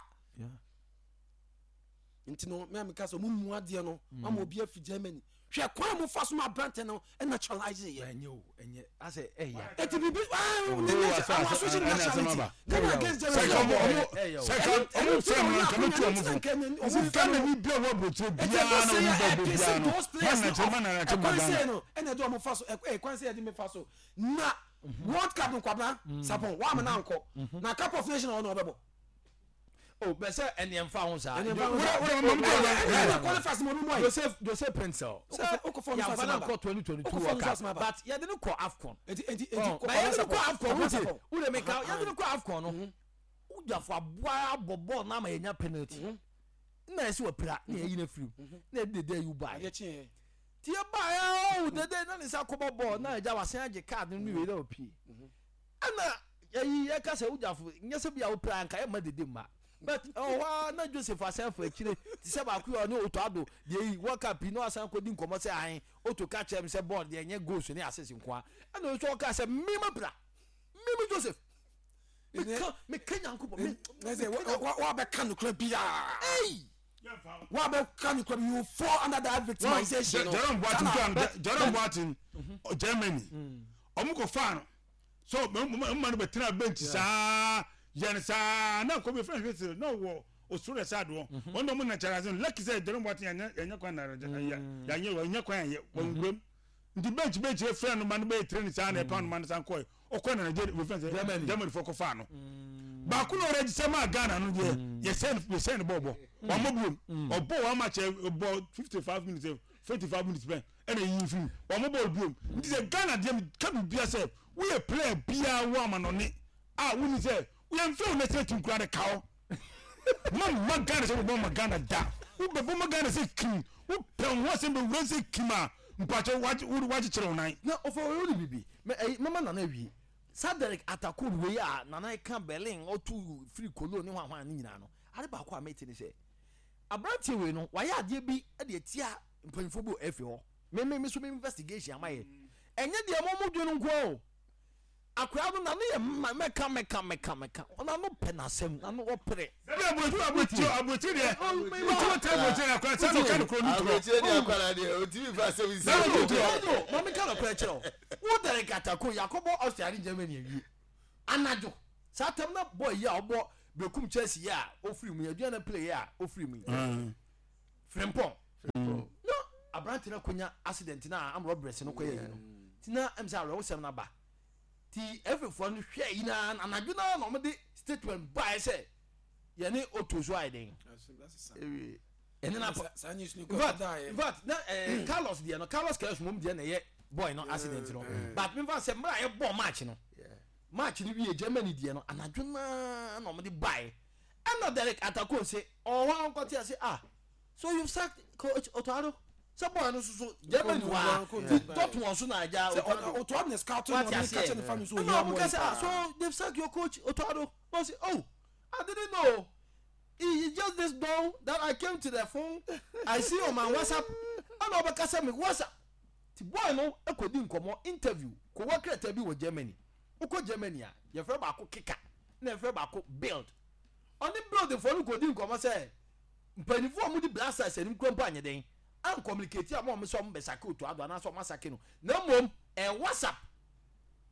nti no mea meka sɛ ɔmo mu adeɛ no ama obi afi Germany hwɛ kwan a mofa so ma aberante no naturalize yɛ Ɛnyɛ o, ɛnyɛ asɛ ɛya. ɛti biribi Oh, our social ɛne asɛm nationality aba. Ghana against Sɛ Germany ka ɔmo ɔmo Ɛyɛ o. sɛ ka ɔmo fɛ mu nka mɛtu ɔmo fo. Nti Ghana ni bia wɔ aburokyire biara na ɔmo bɛ bɔ biara no. Man na kyerɛ man na kyerɛ ma ɛkwan sɛ Ghana. no ɛna ɛde ɔmo fa so ɛkwan sɛ yɛde me fa so na World Cup nkwabena sapon wa amena nkɔ na Cup of Nations ɔno ɔbɛbɔ O bɛ sɛ ɛnìyɛn fa ho saa. Ɛnìyɛn fa ho saa. Wura wura mamu ɛna tɔ ɛna qualifiers mo no mo ayi Joseph Joseph Pencil. Sɛ Okofo no yànfa so na asɛm nkɔ 2022 Okofo World no so Cup asɛm aba. but yɛde ne kɔ AFCON. eti eti eti Ɔ but yɛde ne kɔ AFCON Kwabena wote wode mi ka Aha, yɛde ne kɔ AFCON no wodwafo aboa abɔ bɔɔl na ama yɛnya penalty na yɛsi wɔ pira na yɛyi no afiri mu na yɛde dede ayi ba adeɛ yɛ kyeɛ ti yɛ ba yɛ o dede na ne nsa kɔbɔ bɔɔl na ɛgya wasan agye card no ne wei na opie ɛna yɛyi yɛka sɛ wogyafo nyɛ sɛ bi a wopira nka yɛma dede mma but ɛwɔ hɔ a na Joseph asan fa akyire te sɛ baako yi a ɔne Otto Addo deɛ yi World Cup yi na wasan kɔdi nkɔmmɔ sɛ ahen Otto ka kyerɛ me sɛ bɔɔl deɛ ɛnyɛ goals ne assist nko a ɛna ɔso ɔka sɛ mema pira meme Joseph meka meka Nyankopɔn me ɛsɛ wabɛka nokora biaa ei wabɛka nokora bi you fall under that victimization no Jerome Boateng Sana- to Jerome Boateng Germany ɔmo kɔ fa no so ɔmo ma no bɛ tena bench saa yɛn saa na kɔ bi fɛn fɛn sɛ na ɔwɔ osoro ɛsɛ adoɔ wɔn na ɔmo na kyerɛ ase no lucky sɛ Jerome Boateng yɛnyɛ yɛnyɛ kwan na yɛnyɛ wɔnyɛ kwan yɛ wɔn wuram nti bench bench efra no ma no bɛyɛ train saa na ɛpa no ma no san kɔɛ ɔkɔ na Nigeria fɛn sɛ Germany. Germany fɔ kɔ fa no baako na ɔrɛ sɛ maa Ghana no deɛ yɛsɛn yɛsɛn no bɔɔbɔ wɔn mo biom ɔbɔ wɔn ama kyɛ bɔ 55 minutes 55 minutes pɛ ɛna eyi nfim wɔn mo bɔɔl biom nti sɛ Ghana deɛ mi ka bi bia sɛ woyɛ player biara wɔ ama nɔne a wuni sɛ woyɛ nfɛn wo national team kura de kaw ma ma Ghana sɛ wobɔ ma Ghana da wobɛbɔ ma Ghana sɛ kim wopɛ wo ho asɛm bɛwura sɛ kim a mpakyɛ wagyekyerɛ wo nan. Na ɔfa wei wone bibi mɛ ɛyi mɛma nana awie saa Derek Atakor wei a nana ka Berlin ɔtu firi Cologne ne hwanhwan ne nyinaa no ade baako a mete ne sɛ aberanteɛ wei no wayɛ adeɛ bi de atia mpanyinfoɔ bi wɔ FA hɔ me me me so me investigation ama yɛ ɛnyɛ deɛ mo mo dwe no nko o. Akwadaa no n'ano yɛ mma mɛka mɛka mɛka mɛka n'ano pɛ n'asɛm n'ano ɔpere. Dabi aburokyi aburokyi aburokyi deɛ wotu wo tɛ aburokyi deɛ akwadaa sɛ ɔka no kuro no torɔ. Aburokyi deɛ akwadaa deɛ otumi fa asɛm nsi. Dabi otu torɔ. Maame ka nɔkorɛ kyerɛ wo wo Derek Atako yakɔbɔ Austria ne Germany awie anadwo saa tam na boy yi a ɔbɔ Berekum Chelsea yi a ofiri mu yi Aduana play yi a ofiri mu yi. Frimpong na aberante no akonya accident na am robberies no kɔyɛ yi no ti na ɛm sɛ awerɛhosɛm no aba ti ɛfefoɔ no hwɛ yi na anadwo no na wɔde statement baeɛ sɛ yɛne oto so ayɛ den ɛne na in fact na eh, Carlos deɛ no Carlos Queiroz mom deɛ na ɛyɛ boy no accident no but mefa sɛ mmerɛ a yɛbɔ match no match no wie Germany deɛ no anadwo no na wɔde baeɛ Ɛna Derek Atakor se ɔwɔ hɔ a ɔnkɔte ase ah so you've sacked coach Otto Addo sɛ boy no nso so Germany hɔ a ti Dortmund so na agya Otto Addo Otto Addo na scout no wate ɔne ka aseɛ kyerɛ ne family sɛ ɛna ohia ɔmo boy ka sɛ ah paa. so they've sacked your coach Otto Addo na ɔse oh I didn't know it's just this dawn that I came to the phone I see on my WhatsApp ɛna ɔbɛka sɛ me WhatsApp ti boy no kɔdi nkɔmɔ interview kɔwɔ krataa bi wɔ Germany Wokɔ Germany a, yɛfrɛ baako Kicker na yɛfrɛ baako Bild. Ɔne Bild foɔ no kɔdi nkɔmmɔ sɛ mpanyinfoɔ a wɔdi Black Stars anim kura mpo anyɛ dɛn ancommunicate ama wɔn sɛ wɔn bɛsake Otto Addo anaasɛ wɔn asake no na mmom ɛyɛ WhatsApp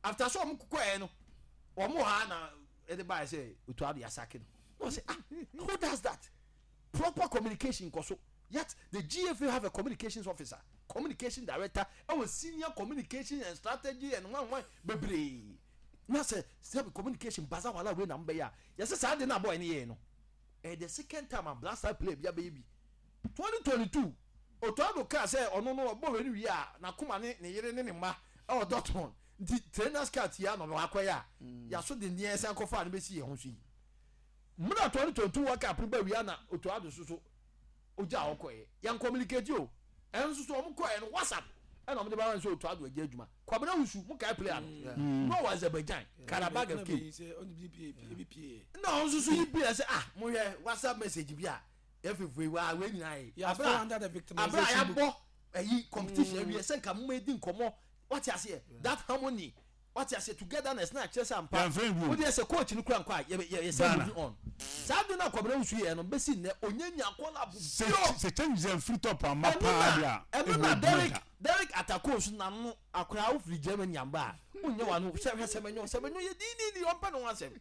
after sɛ wɔn kɔɛ no wɔn wɔ ha na ɛde baeɛ sɛ Otto Addo yɛasake no. Na ɔsɛ ah who does that? Proper communication nkɔ so yet the GFA have a communications officer, communication director ɛwɔ senior communication and strategy and hwan hwan bebree na sɛ sɛbi communication baza wala wei na mbɛyɛ a yɛsɛ saa de na boy ne yɛɛ no ɛyɛ the second time a Black Star player bi abɛyɛ bi 2022 Otto Addo kaa sɛ ɔno no ɔbɔ wei no wie a n'akoma ne ne yere ne ne mma ɛwɔ Dortmund nti trainers cut yi a na ɔno akɔyɛ a yɛaso dendeɛ san kɔfa no bɛsi yɛn ho so yi. Mmerɛ a 2022 World Cup no ba wie a na Otto Addo so so ogyaa hɔ kɔeɛ. Yɛn communicate o. Ɛno nso so wɔn kɔeɛ no WhatsApp ɛna wɔn de ba sɛ Otto Addo agya adwuma. Kwabena Wusu, mo kae player no? Na ɔwɔ Azerbaijan, Karabag FK. Na ɔno nso so yi bi sɛ ah mohwɛ WhatsApp message bi a yɛfefo yi waa wei nyinaa yɛ. Abira abira yɛabɔ ɛyi competition awie sɛ nka mo ma edi nkɔmɔ wate aseɛ that harmony Wate aseɛ togetherness na akyerɛ sɛ ampa Yɛmfrɛ no bio. wodeɛ sɛ coach no kura nkɔ a yɛ yɛ yɛsɛ Ghana. moving on saa de no a Kwabena Wusu yɛɛ no bɛsi nnɛ ɔnya nya call up Sɛ bio sɛ changes amfiri top amma ɛno paa na deɛ a, ɛno ɛbɛyɛ na adwuma Derek da. Derek Atako nso n'ano akoraa wofiri Germany amba a wonyɛ w'ano sɛ hwɛ Semenyo Semenyo yɛ diidiidi ɔmpɛ ne ho asɛm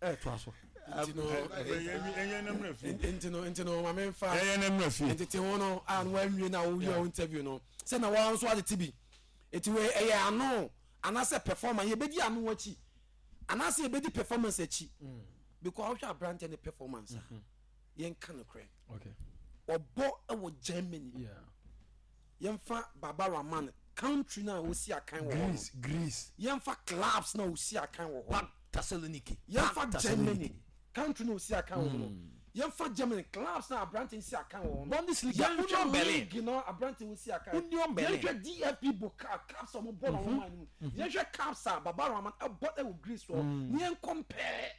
ɛɛ toa so. Nti no Ɛyɛ na mmerɛ fie. nti no nti no maame nfa Ɛyɛ na mmerɛ fie. ntete ho no a na wanwie na wowie wo interview no sɛ na wɔn nso atete bi Eti wei ɛyɛ ano anaasɛ performance yɛbɛdi ano akyi anaasɛ yɛbɛdi performance akyi mm. because wohwɛ aberanteɛ ne performance a mm-hmm. yɛnka no korɛ ɔbɔ ɛwɔ Germany yɛmfa Baba Rahman country na osi akan wɔ hɔ Greece Greece yɛmfa clubs na osi akan wɔ hɔ Thessaloniki yɛmfa Germany Country no osi akan wɔ mu no. Yɛnfa Germany clubs na aberante nsi akan wɔ hɔ no. Bundesliga, Union Berlin. League no aberante osi akan. Union Berlin. Yɛnhwɛ DFB Pokal cups a wɔbɔ na wɔn man no mu. Yɛnhwɛ cups a Baba Rahman ɛbɔ ɛwɔ Greece hɔ. Ne yɛn compare.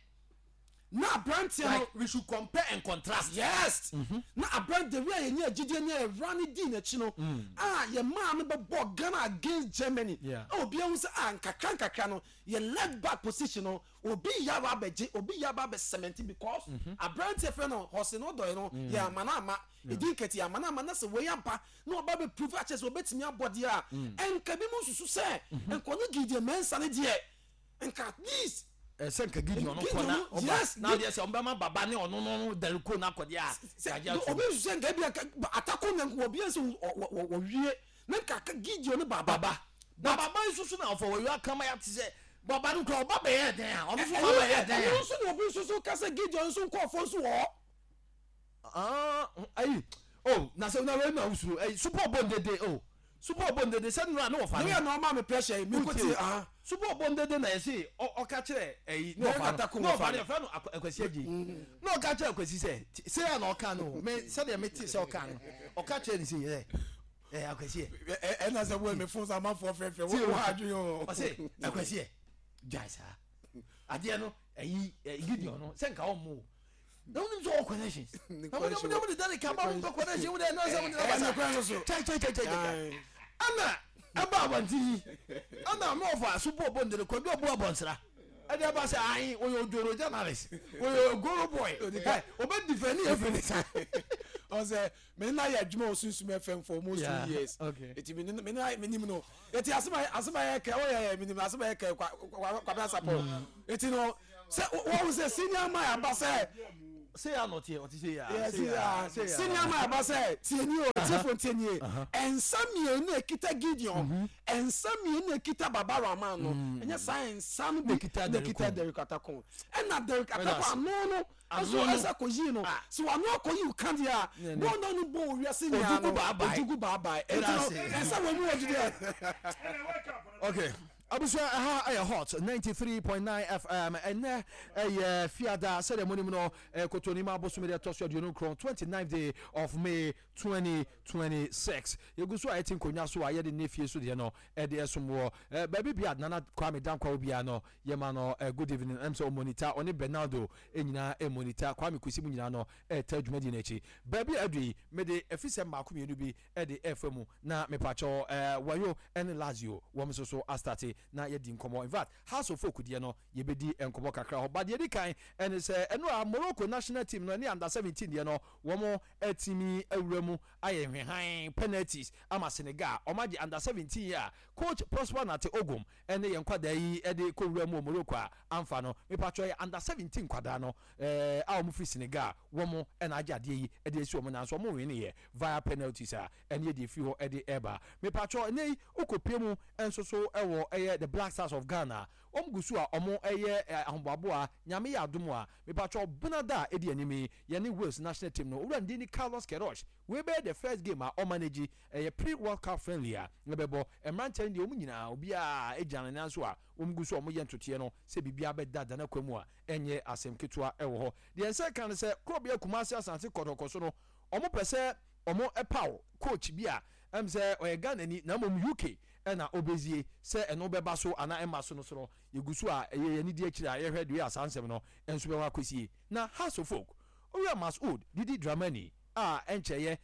Na aberanteɛ no. Like we should compare and contrast. Yes. Na aberante the way a yɛnya agyidie ne ɛwura ne dii n'akyi no. A yɛ maa no bɛbɔ Ghana against Germany. Yeah. A obiara hu sɛ a nkakra nkakra no yɛ left back position no. Obi yɛ aba abɛgye, obi yɛ aba abɛ cement because aberanteɛ fɛ no Hɔse no dɔe no yɛ ama no ama, ɛdi nkɛte yɛ ama no ama na sɛ wei aba na ɔba bɛ prove akyerɛ sɛ ɔbɛtumi abɔ deɛ a, nka bi mu nsusu sɛ nka ɔne Gideon Mensah no deɛ nka at least Ɛsɛ nka Gideon no kɔ na ɔba Yes, na deɛ sɛ ɔbɛma baba ne ɔno no no Dereko no akɔ deɛ a yɛagye atom. Obi nsusu sɛ nka ebi nka Atako na nka obi nso wɔwie na nka Gideon no baba. Baba na baba yi soso na ɔfɔ wɔyɔ akama ya te sɛ baba no kura ɔba bɛyɛ dɛn a ɔno nso ba bɛyɛ dɛn a. Ɛno nso na obi nso so ka sɛ Gideon nso nkɔɔfoɔ nso wɔ hɔ. Ah, ayi oh na sɛ na wei na wosuro ayi super bɔ ndede oh super bɔ ndede sɛ nura ne wɔfa no. Ne yɛ na ɔma me pressure yi mi ko ti ah. Super bɔ ndede na yɛse ɔka kyerɛ ayi ne wɔfa no ne wɔfa no yɛfrɛ no Akwasi Agye na ɔka kyerɛ Akwasi sɛ sɛ na ɔka no me sɛdeɛ mete sɛ ɔka no ɔka kyerɛ ne sɛ yɛ ɛ akwasi ɛ. Ɛna sɛ wo mi fon sa amanfoɔ fɛfɛ wo wo adwene o. Ɔsɛ akwasi ɛ gyae saa adeɛ no ɛyi ɛ Gideon no sɛ nka ɔmo o na wonim sɛ ɔwɔ connections na mo de mo de dane kaba mo mpɛ connection wo de ɛna sɛ mo de na basa kyɛ kyɛ kyɛ kyɛ kyɛ ɛna. Ɛba abɔnten yi ɛna me ɔfa so bɔ bɔ ndere kwadu abu abɔnsra ɛde aba sɛ ayi oyɛ odworo journalist oyɛ ogoro boy ɛ obe defend yɛ fɛ ne sa. Ɔsɛ me na yɛ adwuma wɔ Sunsum FM for almost 2 years. Eti me na me nim no. Eti asem a yɛ kɛ ɔyɛ yɛ me nim asem a yɛ kɛ kwa kwa kwa sapɔ. Eti no sɛ wɔn sɛ senior man aba sɛ. Sɛ yɛ anɔteɛ ɔte sɛ yɛ a senior man aba sɛ tie ni o, tiefo tie nie, nsa mmienu ekita Gideon, nsa mmienu ekita Baba Rahman no, ɛnyɛ saa nsa no bi na ekita Derek Atako. Ɛna Derek Atako ano no nso ɛsɛ kɔ yi no sɛ wano akɔ yi ka deɛ a bɔɔl na no bɔ owiase nyinaa no ojugu baabae. Eti no ɛsɛ wɔn mu wɔ didi. Okay. Abusua, ɛha ɛyɛ Hot 93.9 FM. Ɛnɛ ɛyɛ Fiada, sɛdeɛ monim no, Kotonima abosome deɛ ɛtɔ so 29, 29th day of May 2026. Yɛgu so a yɛte nkonnwa so a yɛde ne fie so deɛ no ɛde ɛsom wɔ baabi bia Nana Kwame Dankwa obiara no yɛma no good evening. Ɛm sɛ ɔmonita ɔne Bernardo nyinaa ɛmonita Kwame Kwesi mu nyinaa no ɛta dwumadi no akyi. Baabi a adu yi, mede afisɛm mmaako mmienu bi ɛde ɛfa mu na mepakyɛw Wayo ɛne Lazio wɔn nso so astarte na yɛdi nkɔmmɔ. In fact, Hearts of Oak deɛ no yɛbɛdi nkɔmmɔ kakra hɔ, but deɛ ɛdi kan ɛne sɛ ɛno a Morocco national team no ɛne under 17 deɛ no wɔn atumi awura mu ayɛ hwehan penalties ama Senegal. Wɔn agye under 17 yi a coach Prosper Nate Ogum ɛne yɛn nkwadaa yi ɛde kɔwura mu wɔ Morocco a amfa no. Mepakyɛw, yɛ under 17 nkwadaa no a wɔn firi Senegal, wɔn ɛna agye adeɛ yi ɛde asi wɔn nan so. Wɔn wineɛ via penalties a ɛne yɛde efiri hɔ ɛde ɛba. Mepakyɛw, ɛnɛ yi okopie mu nso so ɛwɔ ɛyɛ the Black Stars of Ghana. Wɔn gu so a wɔn ɛyɛ ahoboaboa. Nyame yɛ adom a, mepakyɛw, benada a ɛdi anim yi, yɛne Wales national team no owura ndin ni Carlos Queiroz wei bɛyɛ the first game a ɔmanage. Ɛyɛ pre World Cup friendly a ɛbɛbɔ. Mmeranteɛ no deɛ, wɔn nyinaa obiara gyina ne nan so a wɔn gu so a wɔyɛ ntotoeɛ no sɛ biribiara bɛda dana kwa mu a ɛnyɛ asɛm ketewa ɛwɔ hɔ. Deɛ nsa ka no sɛ korɔbea Kumasi Asante Kɔtɔkɔ so no, wɔn pɛ sɛ wɔn ɛpaw coach bi a ɛm sɛ ɔyɛ Ghana ni na mmom UK ɛna ɔbɛzie. Sɛ ɛno bɛba so anaa ɛma so no so no, yɛgu so a ɛyɛ yɛn di akyire a yɛhwɛ deɛ asa nsɛm no nso bɛwɔ akɔsie. Na Hearts of Oak owura Masoud Didi Dramani a ɛnkyɛyɛ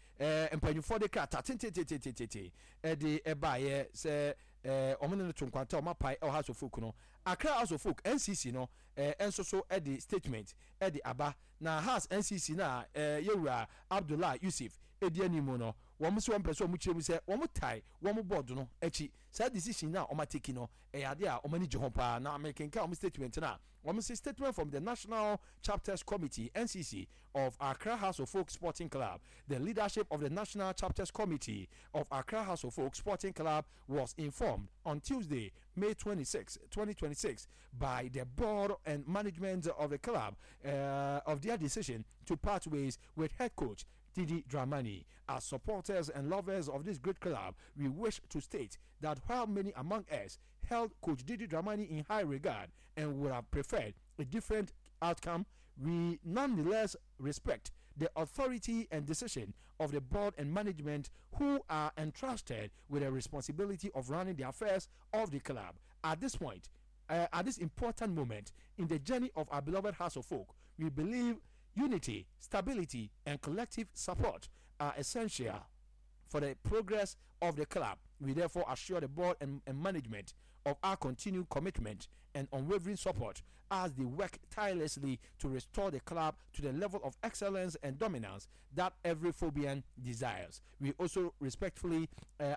mpanyinfoɔ de krataa tentententententen ɛde ɛbaayɛ sɛ wɔn ne no to nkwanta, wɔn apae ɛwɔ Hearts of Oak no. Accra House of Oak NCC no nso so de statement de aba. Na Hearts NCC no a yɛwura Abdullah Yusuf di anim no, wɔn nso wɔn pɛ sɛ wɔn kyerɛ mu sɛ wɔn tae wɔn board no akyi. Saa decision no a wɔn ateki no, ɛyɛ adeɛ a wɔn ani gye ho paa. Na mekenkan wɔn statement no a, wɔn se statement from the National Chapters Committee, NCC, of Accra Hearts of Oak Sporting Club. The leadership of the National Chapters Committee of Accra Hearts of Oak Sporting Club was informed on Tuesday, May 26, 2026, by the board and management of the club of their decision to part ways with head coach Didi Dramani. As supporters and lovers of this great club, we wish to state that while many among us held Coach Didi Dramani in high regard and would have preferred a different outcome, we nonetheless respect the authority and decision of the board and management, who are entrusted with the responsibility of running the affairs of the club. At this point, at this important moment in the journey of our beloved Hearts of Oak, we believe unity, stability, and collective support are essential for the progress of the club. We therefore assure the board and management of our continued commitment and unwavering support as they work tirelessly to restore the club to the level of excellence and dominance that every Phobian desires. We also respectfully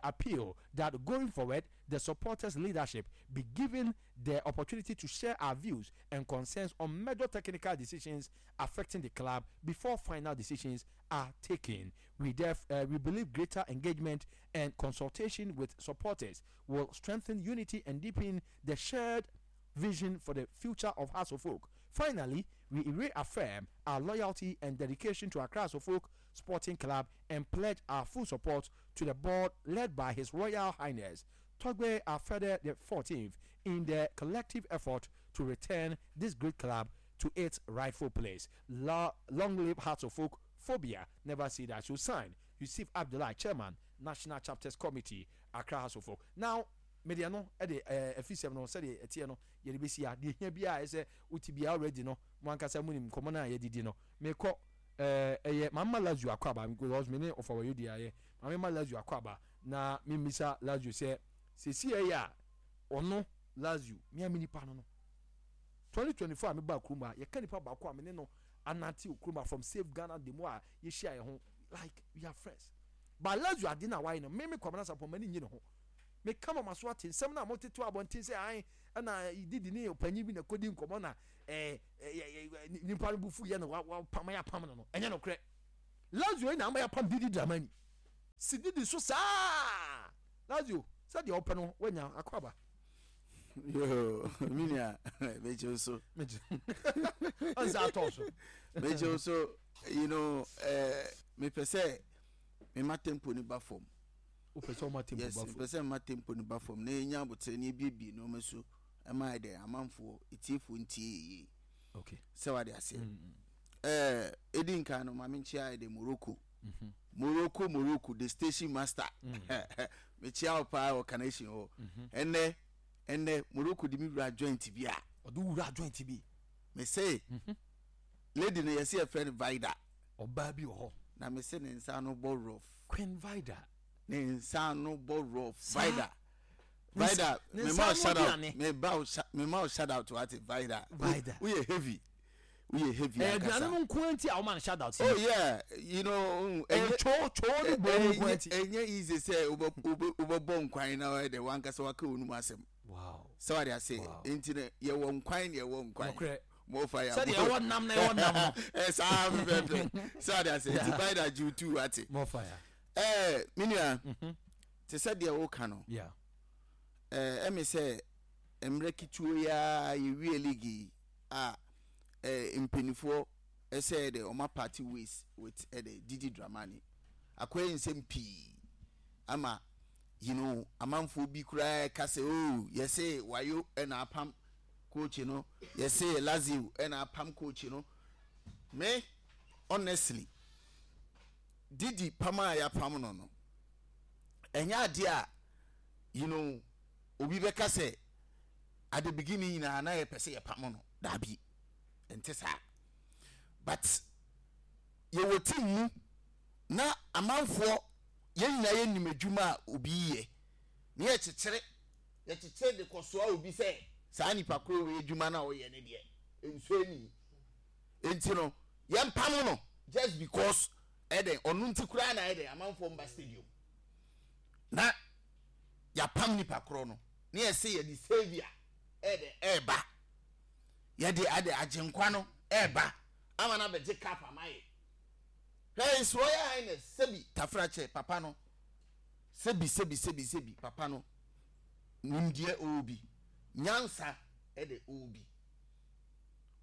appeal that going forward, the supporters' leadership be given the opportunity to share our views and concerns on major technical decisions affecting the club before final decisions are taken. We believe greater engagement and consultation with supporters will strengthen unity and deepen the shared vision for the future of Hearts of Oak. Finally, we reaffirm our loyalty and dedication to Accra Hearts of Oak Sporting Club and pledge our full support to the board led by His Royal Highness Togbe Afede the 14th in their collective effort to return this great club to its rightful place. Long live Hearts of Oak. Phobia never see that. So sign Yusuf Abdullah, Chairman, National Chapters Committee, Accra Hearts of Oak. Now, media no ɛde ɛfi sɛm no sɛdeɛ ɛteɛ no, yɛde bɛsi a deɛ hia biara ɛsɛ wote biara already no, mo ankasa mu nim nkɔmmɔ no a yɛdidi no. Mekɔ ɛyɛ mama Lazio akɔ aba because me ne ɔfa wɔyɛ di ayɛ maame ma Lazio akɔ aba na memisa Lazio sɛ Seesei ɛyɛ a ɔno Lazio, me a me nipa no no. 2024 a mebaa kurom ha, yɛka nipa baako a me ne no anante wɔ kurom ha from Save Ghana demo a yɛhyia yɛn ho, like we are friends. But Lazio ade no a wayɛ no, me me Kwabena Sarpong m'ani nnye ne ho. Meka ma m'aso ate nsɛm no a motete wɔ abɔnten sɛ ae ɛna Didi ne ɔpanyin bi na ɛkɔdi nkɔmmɔ na ɛɛ nipa no bo fu yɛ na wapam yɛapam no no, ɛnyɛ nokorɛ. Lazio yi na ama yɛapam Didi Dramani. Si Didi so saa! Lazio, sɛdeɛ wopɛ no woanya, akɔ aba. Yoo, me nua, megye wo so. Ɔnsa atɔ so. Megye wo so, you know, eh, mepɛ sɛ mema tempo no ba fam. Wopɛ sɛ ɔma tempo ba fam? Yes, mepɛ sɛ mema tempo no ba fam na yɛnya aboterɛ na yɛbiebie nneɛma so ɛma ayɛ dɛ amanfoɔ, etiefoɔ ntie yɛ yie. Okay. Sɛ wade aseɛ. Eh, edi nkan no, ma menkyia ayɛ dɛ Morocco. Morocco Morocco the station master mekyia wo paa wɔ Carnation hɔ ɛnɛ ɛnɛ Morocco de me wura joint bi a ɔde wura joint bi me se lady no yɛse yɛfrɛ no Vida ɔbaa bi wɔ hɔ na me se ne nsa ano bɔ rough Queen Vida ne nsa ano bɔ rough Vida Vida me ma wo shout out me ma wo shout out wate Vida Vida woyɛ heavy woyɛ heavy Ɛyɛ ankasa. aduane no nko ara nti a woma no shout out Oh yeah, you know, ɛyɛ kyoo kyoo ne bɔ no nko ara nti. Ɛnyɛ easy sɛ wobɛbɔ nkwan na wɔyɛ dɛ wankasa waka wɔn mu asɛm. Wow. Sɛ wade ase. Nti no yɛwɔ nkwan na yɛwɔ nkwan. Nokorɛ. Mo fa ya. Sɛdeɛ ɛwɔ nam na ɛwɔ nam no. Ɛ saa pɛpɛpɛ. Sɛ wade ase. Nti by that you too ate. Mo fa ya. Ɛɛ me nua. Te sɛ deɛ woka no. Yeah. Ɛɛ ɛmi sɛ mmerɛ ketewa yi ara yɛwie league yi a eh, mpaninfoɔ sɛ de ɔma party ways with eh, de Didi Dramani akɔyɛ nsɛm pii ama you know amanfoɔ bi koraa ka sɛ oh yɛse wayo ɛna apam coach no yɛse Lazio ɛna apam coach no me honestly Didi pam a yɛapam no no ɛnyɛ adeɛ a you know obi bɛka sɛ at the beginning nyinaa na yɛpɛ sɛ yɛpamo no daabi ɛnte saa but yɛwɔ team mu na amanfoɔ yɛn nyinaa yɛnim adwuma a obi yɛ na yɛkyekyere yɛkyekyere de kɔsoa obi sɛ saa nipa koro wei adwuma no a ɔyɛ no deɛ nsuo ani nti no yɛmpamo no just because ɛdɛn ɔno nti koraa na ɛdɛn amanfoɔ mba stadium na yɛapam nipa korɔ no na yɛse yɛde saviour ɛde ɛɛba yɛde ade agyenkwa no ɛɛba ama no abɛgye cup ama yɛ hwɛ his royal highness sɛbi tafrakyɛ papa no sɛbi sɛbi sɛbi sɛbi papa no nimdeɛ ɔwɔ bi nyansa ɛde ɔwɔ bi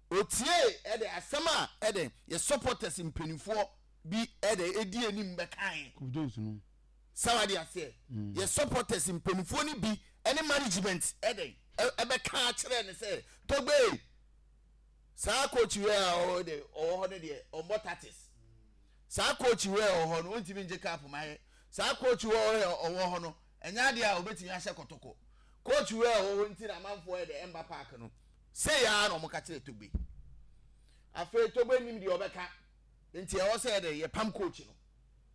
otie ɛde asɛm a ɛde yɛ supporters mpanimfoɔ bi ɛde edi anim bɛkae. Kofi Jones no. Sɛ wade aseɛ yɛ supporters mpaninfoɔ no bi ɛne management ɛdɛn ɛbɛka akyerɛ no sɛ Togbe saa coach wei a ɔwɔ de ɔwɔ hɔ no deɛ ɔmmɔ tactics saa coach wei a ɔwɔ hɔ no ɔntumi ngye cup ma yɛ saa coach wei a ɔwɔ hɔ no ɛnyɛ adeɛ a ɔbɛtumi ahyɛ kɔtɔkɔ coach wei a ɔwɔ hɔ nti na amanfoɔ ɛdɛ ɛmba park no sɛ yɛ ara na wɔka kyerɛ Togbe afei Togbe nim deɛ ɔbɛka nti ɛwɔ sɛ yɛde yɛpam coach no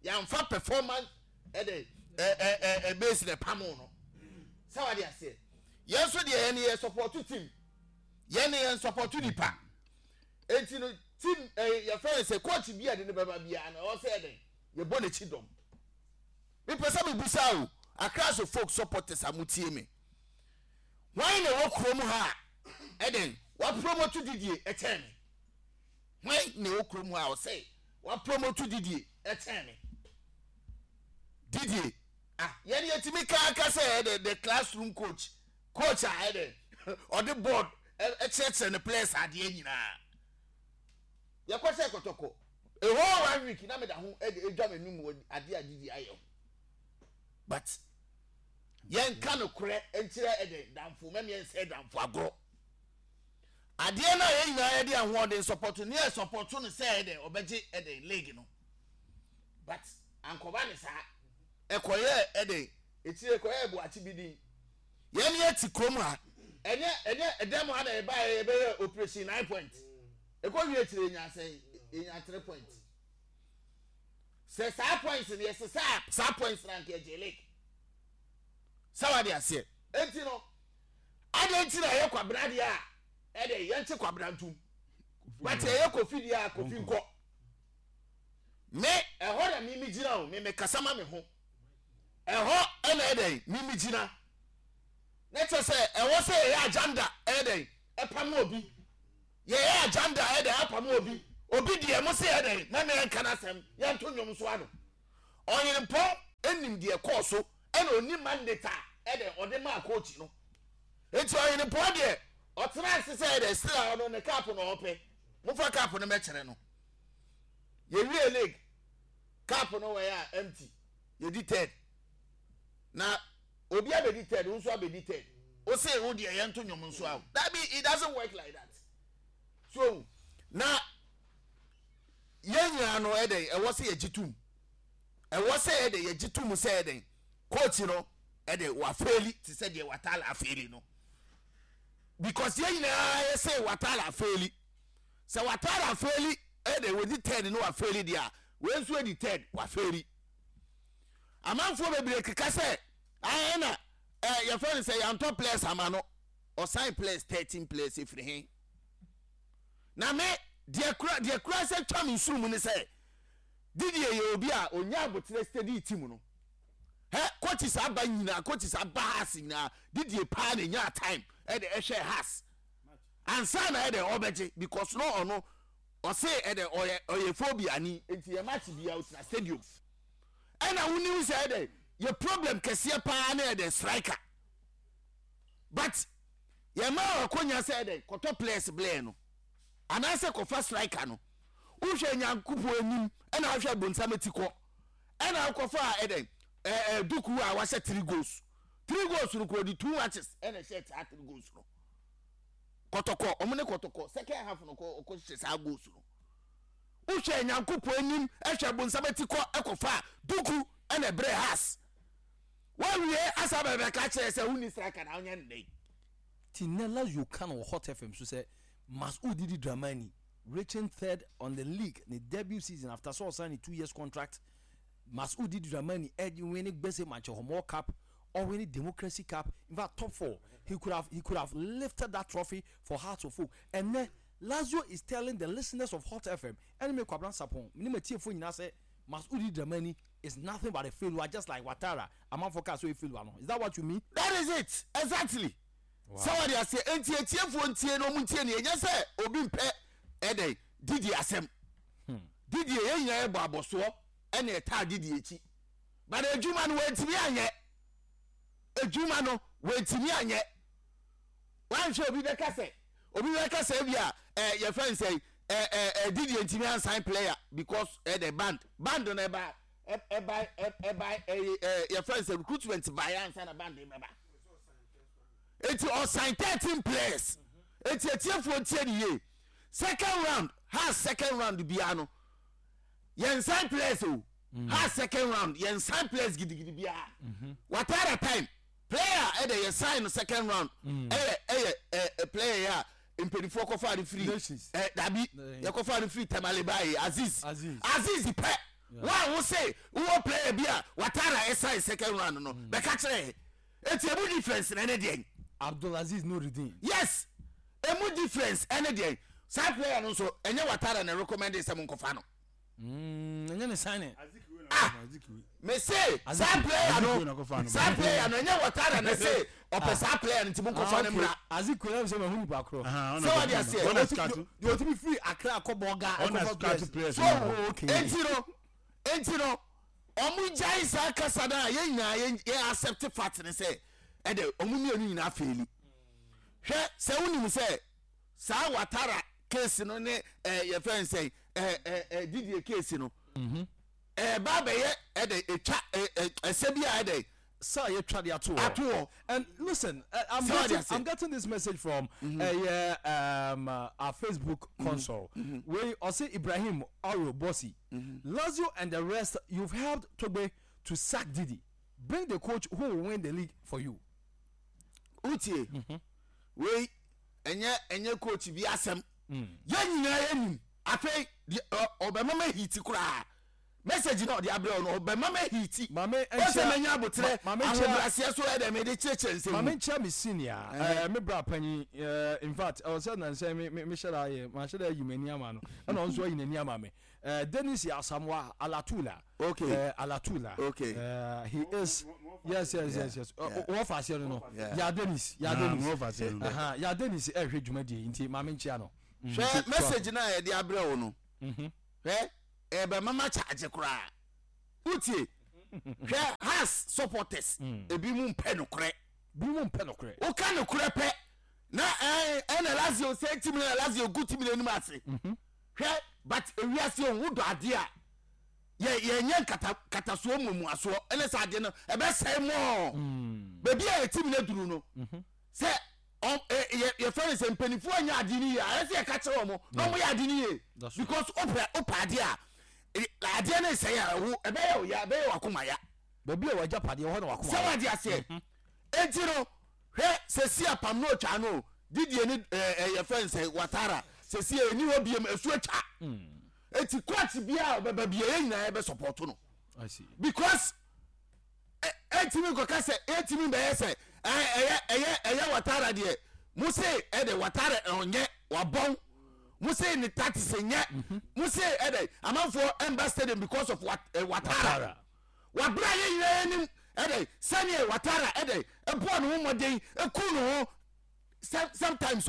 yɛamfa performance ɛde ɛ ɛ ɛ base na ɛpam no sɛ wade aseɛ yɛn nso deɛ yɛn yɛ support team yɛn yɛn support nipa eti no team ɛ yɛfrɛ no sɛ coach bi a de ne bɛba biara no ɛwɔ sɛ yɛde yɛbɔ n'akyi dɔm mepɛ sɛ mebusa o Accra so folk supporters a motie me wɔn na ɛwɔ kurom ha a ɛdɛn wapromote didie ɛkyɛn me Hwan na ɛwɔ kurom hɔ a ɔsɛ wapromote Didie ɛkyɛn me? Didie ah yɛn yɛtumi kaa ka sɛ ɛdɛ the classroom coach coach a ɛdɛ ɔde board ɛkyerɛkyerɛ ne players adeɛ nyinaa yɛkɔ sɛ kɔtɔkɔ a whole one week na meda ho ɛde edwa m'anum wɔ adeɛ a Didie ayɛ ho but yɛnka no korɛ nkyerɛ ɛdɛ damfo mɛmiɛ nsɛ damfo agorɔ. Adeɛ no a yɛn nyinaa yɛde ahoɔden sɔpɔto no yɛ sɔpɔto no sɛ ɛdɛ ɔbɛgye ɛdɛ league no but ankɔba ne saa ɛkɔyɛ ɛdɛ etire ɛkɔyɛ ɛboakye bi din yɛn yɛ ti kurom ha ɛnyɛ ɛnyɛ ɛdɛm ha na ɛba yɛ yɛbɛyɛ operation nine point ɛkɔ wie akyire yɛnya sɛn yɛnya three point sɛ saa points no yɛsesa saa points na nka ɛgye league. Sɛ wade aseɛ. Enti no, adɛn nti na ɛyɛ Kwabena deɛ a, ɛdɛ yɛnkye Kwabena ntom. But ɛyɛ Kofi deɛ a, Kofi nkɔ. Me, ɛhɔ na me megyina o, me mekasa ma me ho. Ɛhɔ ɛna ɛdɛn, me megyina. Na kyerɛ sɛ ɛwɔ sɛ yɛyɛ agenda ɛdɛn, ɛpam obi. Yɛyɛ agenda ɛdɛn, apam obi. Obi deɛ mo se ɛdɛn, mɛmɛ ɛnka n'asɛm, yɛnto nnwom so ano. Ɔyenempɔn nim deɛ ɛkɔɔ so ɛna ɔnim mandate a ɛdɛn ɔde maa coach no. Enti ɔyenempɔn deɛ ɔtena ase sɛ ɛdɛn still a ɔno ne cup na ɔpɛ. Momfa cup no mɛkyerɛ no. Yɛwie league cup no wɔ yɛ a empty. Yɛdi third. Na obi abɛdi third, wo nso abɛdi third. Wo se wo deɛ yɛnto nnwom nso a. Dabi, it doesn't work like that. So na yɛn nyinaa no ɛdɛn ɛwɔ sɛ yɛgye tom ɛwɔ sɛ ɛdɛn yɛgye tom sɛ ɛdɛn coach no ɛdɛn wafeeli te sɛ deɛ Watala afeeli no because yɛn nyinaa yɛ sɛ Watala afeeli sɛ Watala afeeli ɛdɛn wɔdi third no wafeeli deɛ a wɔn nso adi third wafeeli amanfoɔ bebree keka sɛ ɛna ɛ yɛfrɛ no sɛ yɛantɔ players ama no ɔsan players 13 players efiri he. Na me, deɛ kura, deɛ kura sɛ twa me nsuru mu ne sɛ, Didier yɛ obi a ɔnya aboterɛ steady team no. Hɛ, coaches aba nyinaa, coaches aba Hearts nyinaa, Didier paa na ɛnyaa time ɛde ɛhwɛɛ Hearts. Ansa na ɛde ɔbɛgye, because no ɔno, ɔse ɛde ɔyɛ, ɔyɛ phobia ni, nti yɛ match bia ɔtena stadium. Ɛna wonim sɛ ɛde, yɛ problem kɛseɛ paa ne ɛde striker. But yɛma wo akonya sɛ dɛn kɔtɔ players blɛɛ no anaasɛ kɔfa striker no wohwɛ nyankopɔn anim ɛna wohwɛ bonsam ati kɔ ɛna wokɔfa a ɛdɛn ɛɛ duku a wahyɛ three goals three goals no kɔ di two matches ɛna ɛhyɛ saa three goals no kɔtɔkɔ ɔmo ne kɔtɔkɔ second half no kɔ ɔkɔ hyɛ saa goals no wohwɛ nyankopɔn anim ɛhwɛ bonsam ati kɔ ɛkɔfa duku ɛna ɛbrɛ has Woawie asa bɛbɛka kyerɛ sɛ wonni striker na wonyɛ no dɛn? Ti nnɛ Lazio ka no wɔ Hot FM so sɛ Masud Didi Dramani reaching third on the league ne debut season after sɛ ɔsan ne 2 years contract. Masud Didi Dramani winne Gbese Mankyɛ Cup, ɔwinne Democracy Cup, in fact top four. He could have lifted that trophy for Hearts of Oak. Ɛnnɛ Lazio is telling the listeners of Hot FM ɛne me Kwabena Sarpong me ne m'atiefoɔ nyinaa sɛ Masud Didi Dramani is nothing but a failure just like Watara amanfoɔ kaa sɛ ɔyɛ failure no. Is that what you mean? That is it exactly. Sɛ wɔde aseɛ enti atiefoɔ ntie na ɔmo ntie ne ɛnyɛ sɛ obi mpɛ ɛdɛn Didi asɛm. Didi yɛn nyinaa yɛbɔ abɔsoɔ ɛna ɛtaa Didi akyi but adwuma no wɔntumi anyɛ, adwuma no wɔntumi anyɛ. Wanhwɛ obi bɛka sɛ ebi a yɛfrɛ n sɛ Didi ntumi ansign player because the band no ɛba ɛba ɛba ɛ ɛ yɛfrɛ n sɛ recruitment ba yɛ ansa na band bɛba, eti ɔsign 13 players. Eti etiefoɔ ntie ne yie, second round has second round biara no yɛn sign players o. Has second round yɛn sign players gidigidi biara. Watara time player ɛdɛ yɛ sign no second round ɛyɛ player yɛ a mpanyinfoɔ kɔfa ne firi Nations. Dabi, yɛkɔfa ne firi Tamale baayi, Aziz. Aziz. Aziz pɛ wɔn a wose wowɔ player bi a Watara ɛsign second round no bɛka kyerɛ yɛ, eti emu difference na ɛne deɛ? Abdulaziz Nuruddin. Yes, emu difference ɛne deɛ? Saa player no nso ɛnyɛ Watara na recommend sɛ mo nkɔfa no. Ɛnyɛ ne signing. Ah, me se saa player no, saa player no ɛnyɛ Watara na se ɔpɛ saa player no nti mo nkɔfa no mmra. Azikiwe na sɛ mahu nipa korɔ. Sɛ wade aseɛ. Deɛ ɔtumi firi Accra kɔ Bɔga ɛkɔfa players. So enti no ɔmo gyae saa kasa no a yɛn nyinaa yɛn accept fact ne sɛ ɛdɛ ɔmo mmienu nyinaa fail. Hwɛ sɛ wonim sɛ saa Watara case no ne yɛfrɛ n sɛ ɛ ɛ ɛ Didie case no ɛba bɛyɛ ɛdɛ etwa ɛ ɛ ɛsɛ bi a ɛdɛ Sir, you tried the ato. Ato hɔ. And listen, I'm Sir, getting, that's it. I'm getting this message from yeah, our Facebook console. Where I say Ibrahim Aro Bossy, Lazio and the rest, you've helped Togbe to sack Didi. Bring the coach who will win the league for you. Wotie wei, ɛnyɛ coach bi asɛm, yɛn nyinaa yɛnim. Afei deɛ ɔbɛma ma hiti koraa. Message na ɔde abrɛ wo no, ɔbɛma ma hiti. Maame Ɔsɛ nkyia manya aboterɛ, maame nkyia ahobrɛaseɛ so ɛdɛ mede kyerɛkyerɛ nsɛm maame mu. nkyia me senior me bra panyin in fact ɛwɔ sɛ nansɛn me me mehyɛ da ayɛ mahyɛ da ayi m'ani ama no, ɛna ɔno nso ayi n'ani ama me. Dennis Asamoah Alatula. Alatula. He is, yes, wɔfa aseɛ no. Ya Dennis, ya Dennis. Wɔfa aseɛ no. Ya Dennis ɛhwɛ dwumadie yi, nti maame nkyia no. Hwɛ message no a yɛde abrɛ wo no. Hwɛ, ɛbɛma ma charge koraa. Wotie? Hwɛ, Hearts supporters ebi mu mpɛ nokorɛ. Bi mu mpɛ nokorɛ. Woka nokorɛ pɛ na ɛna Lazio sɛ team na Lazio gu team n'anim ase. Hwɛ, but ewiase ohun dɔ adeɛ a yɛ yɛnyɛ nkata katasoɔ mmuamuasoɔ, ɛne sɛ adeɛ no ɛbɛsɛe mɔɔ baabi a yɛ team no aduru no, sɛ ɔm ɛ yɛ yɛfrɛ no sɛ mpanimfoɔ anyɛ adeɛ no yie a, ɛsɛ yɛka kyerɛ wɔn na wɔn yɛ adeɛ no yie, because wopɛ adeɛ a adeɛ no nsɛe a, ɛwo ɛbɛyɛ wo ya, ɛbɛyɛ wakoma ya. Baabi a wagyapadeɛ hɔ na wakoma sɛ wade aseɛ. Enti no, hwɛ, sɛsi apam no otwa no didie ne yɛfrɛ no sɛ Watara sɛsi ɛni hɔ biem, ɛsu atwa. Eti coach biara a ɔbɛba bia, yɛn nyinaa yɛbɛ support no because ɛntumi nkɔka sɛ ɛntumi bɛyɛ sɛ ɛyɛ ɛyɛ ɛyɛ Watara deɛ, mo se ɛde Watara ɔnyɛ wabɔn, mo se ne tactics nyɛ, mo se ɛde amanfoɔ ɛmba stadium because of Watara. Wabra yɛn nyinaa anim ɛdɛ sɛneɛ Watara ɛdɛ ɛbɔɔ ne ho mmɔden, ɛku ne ho sometimes.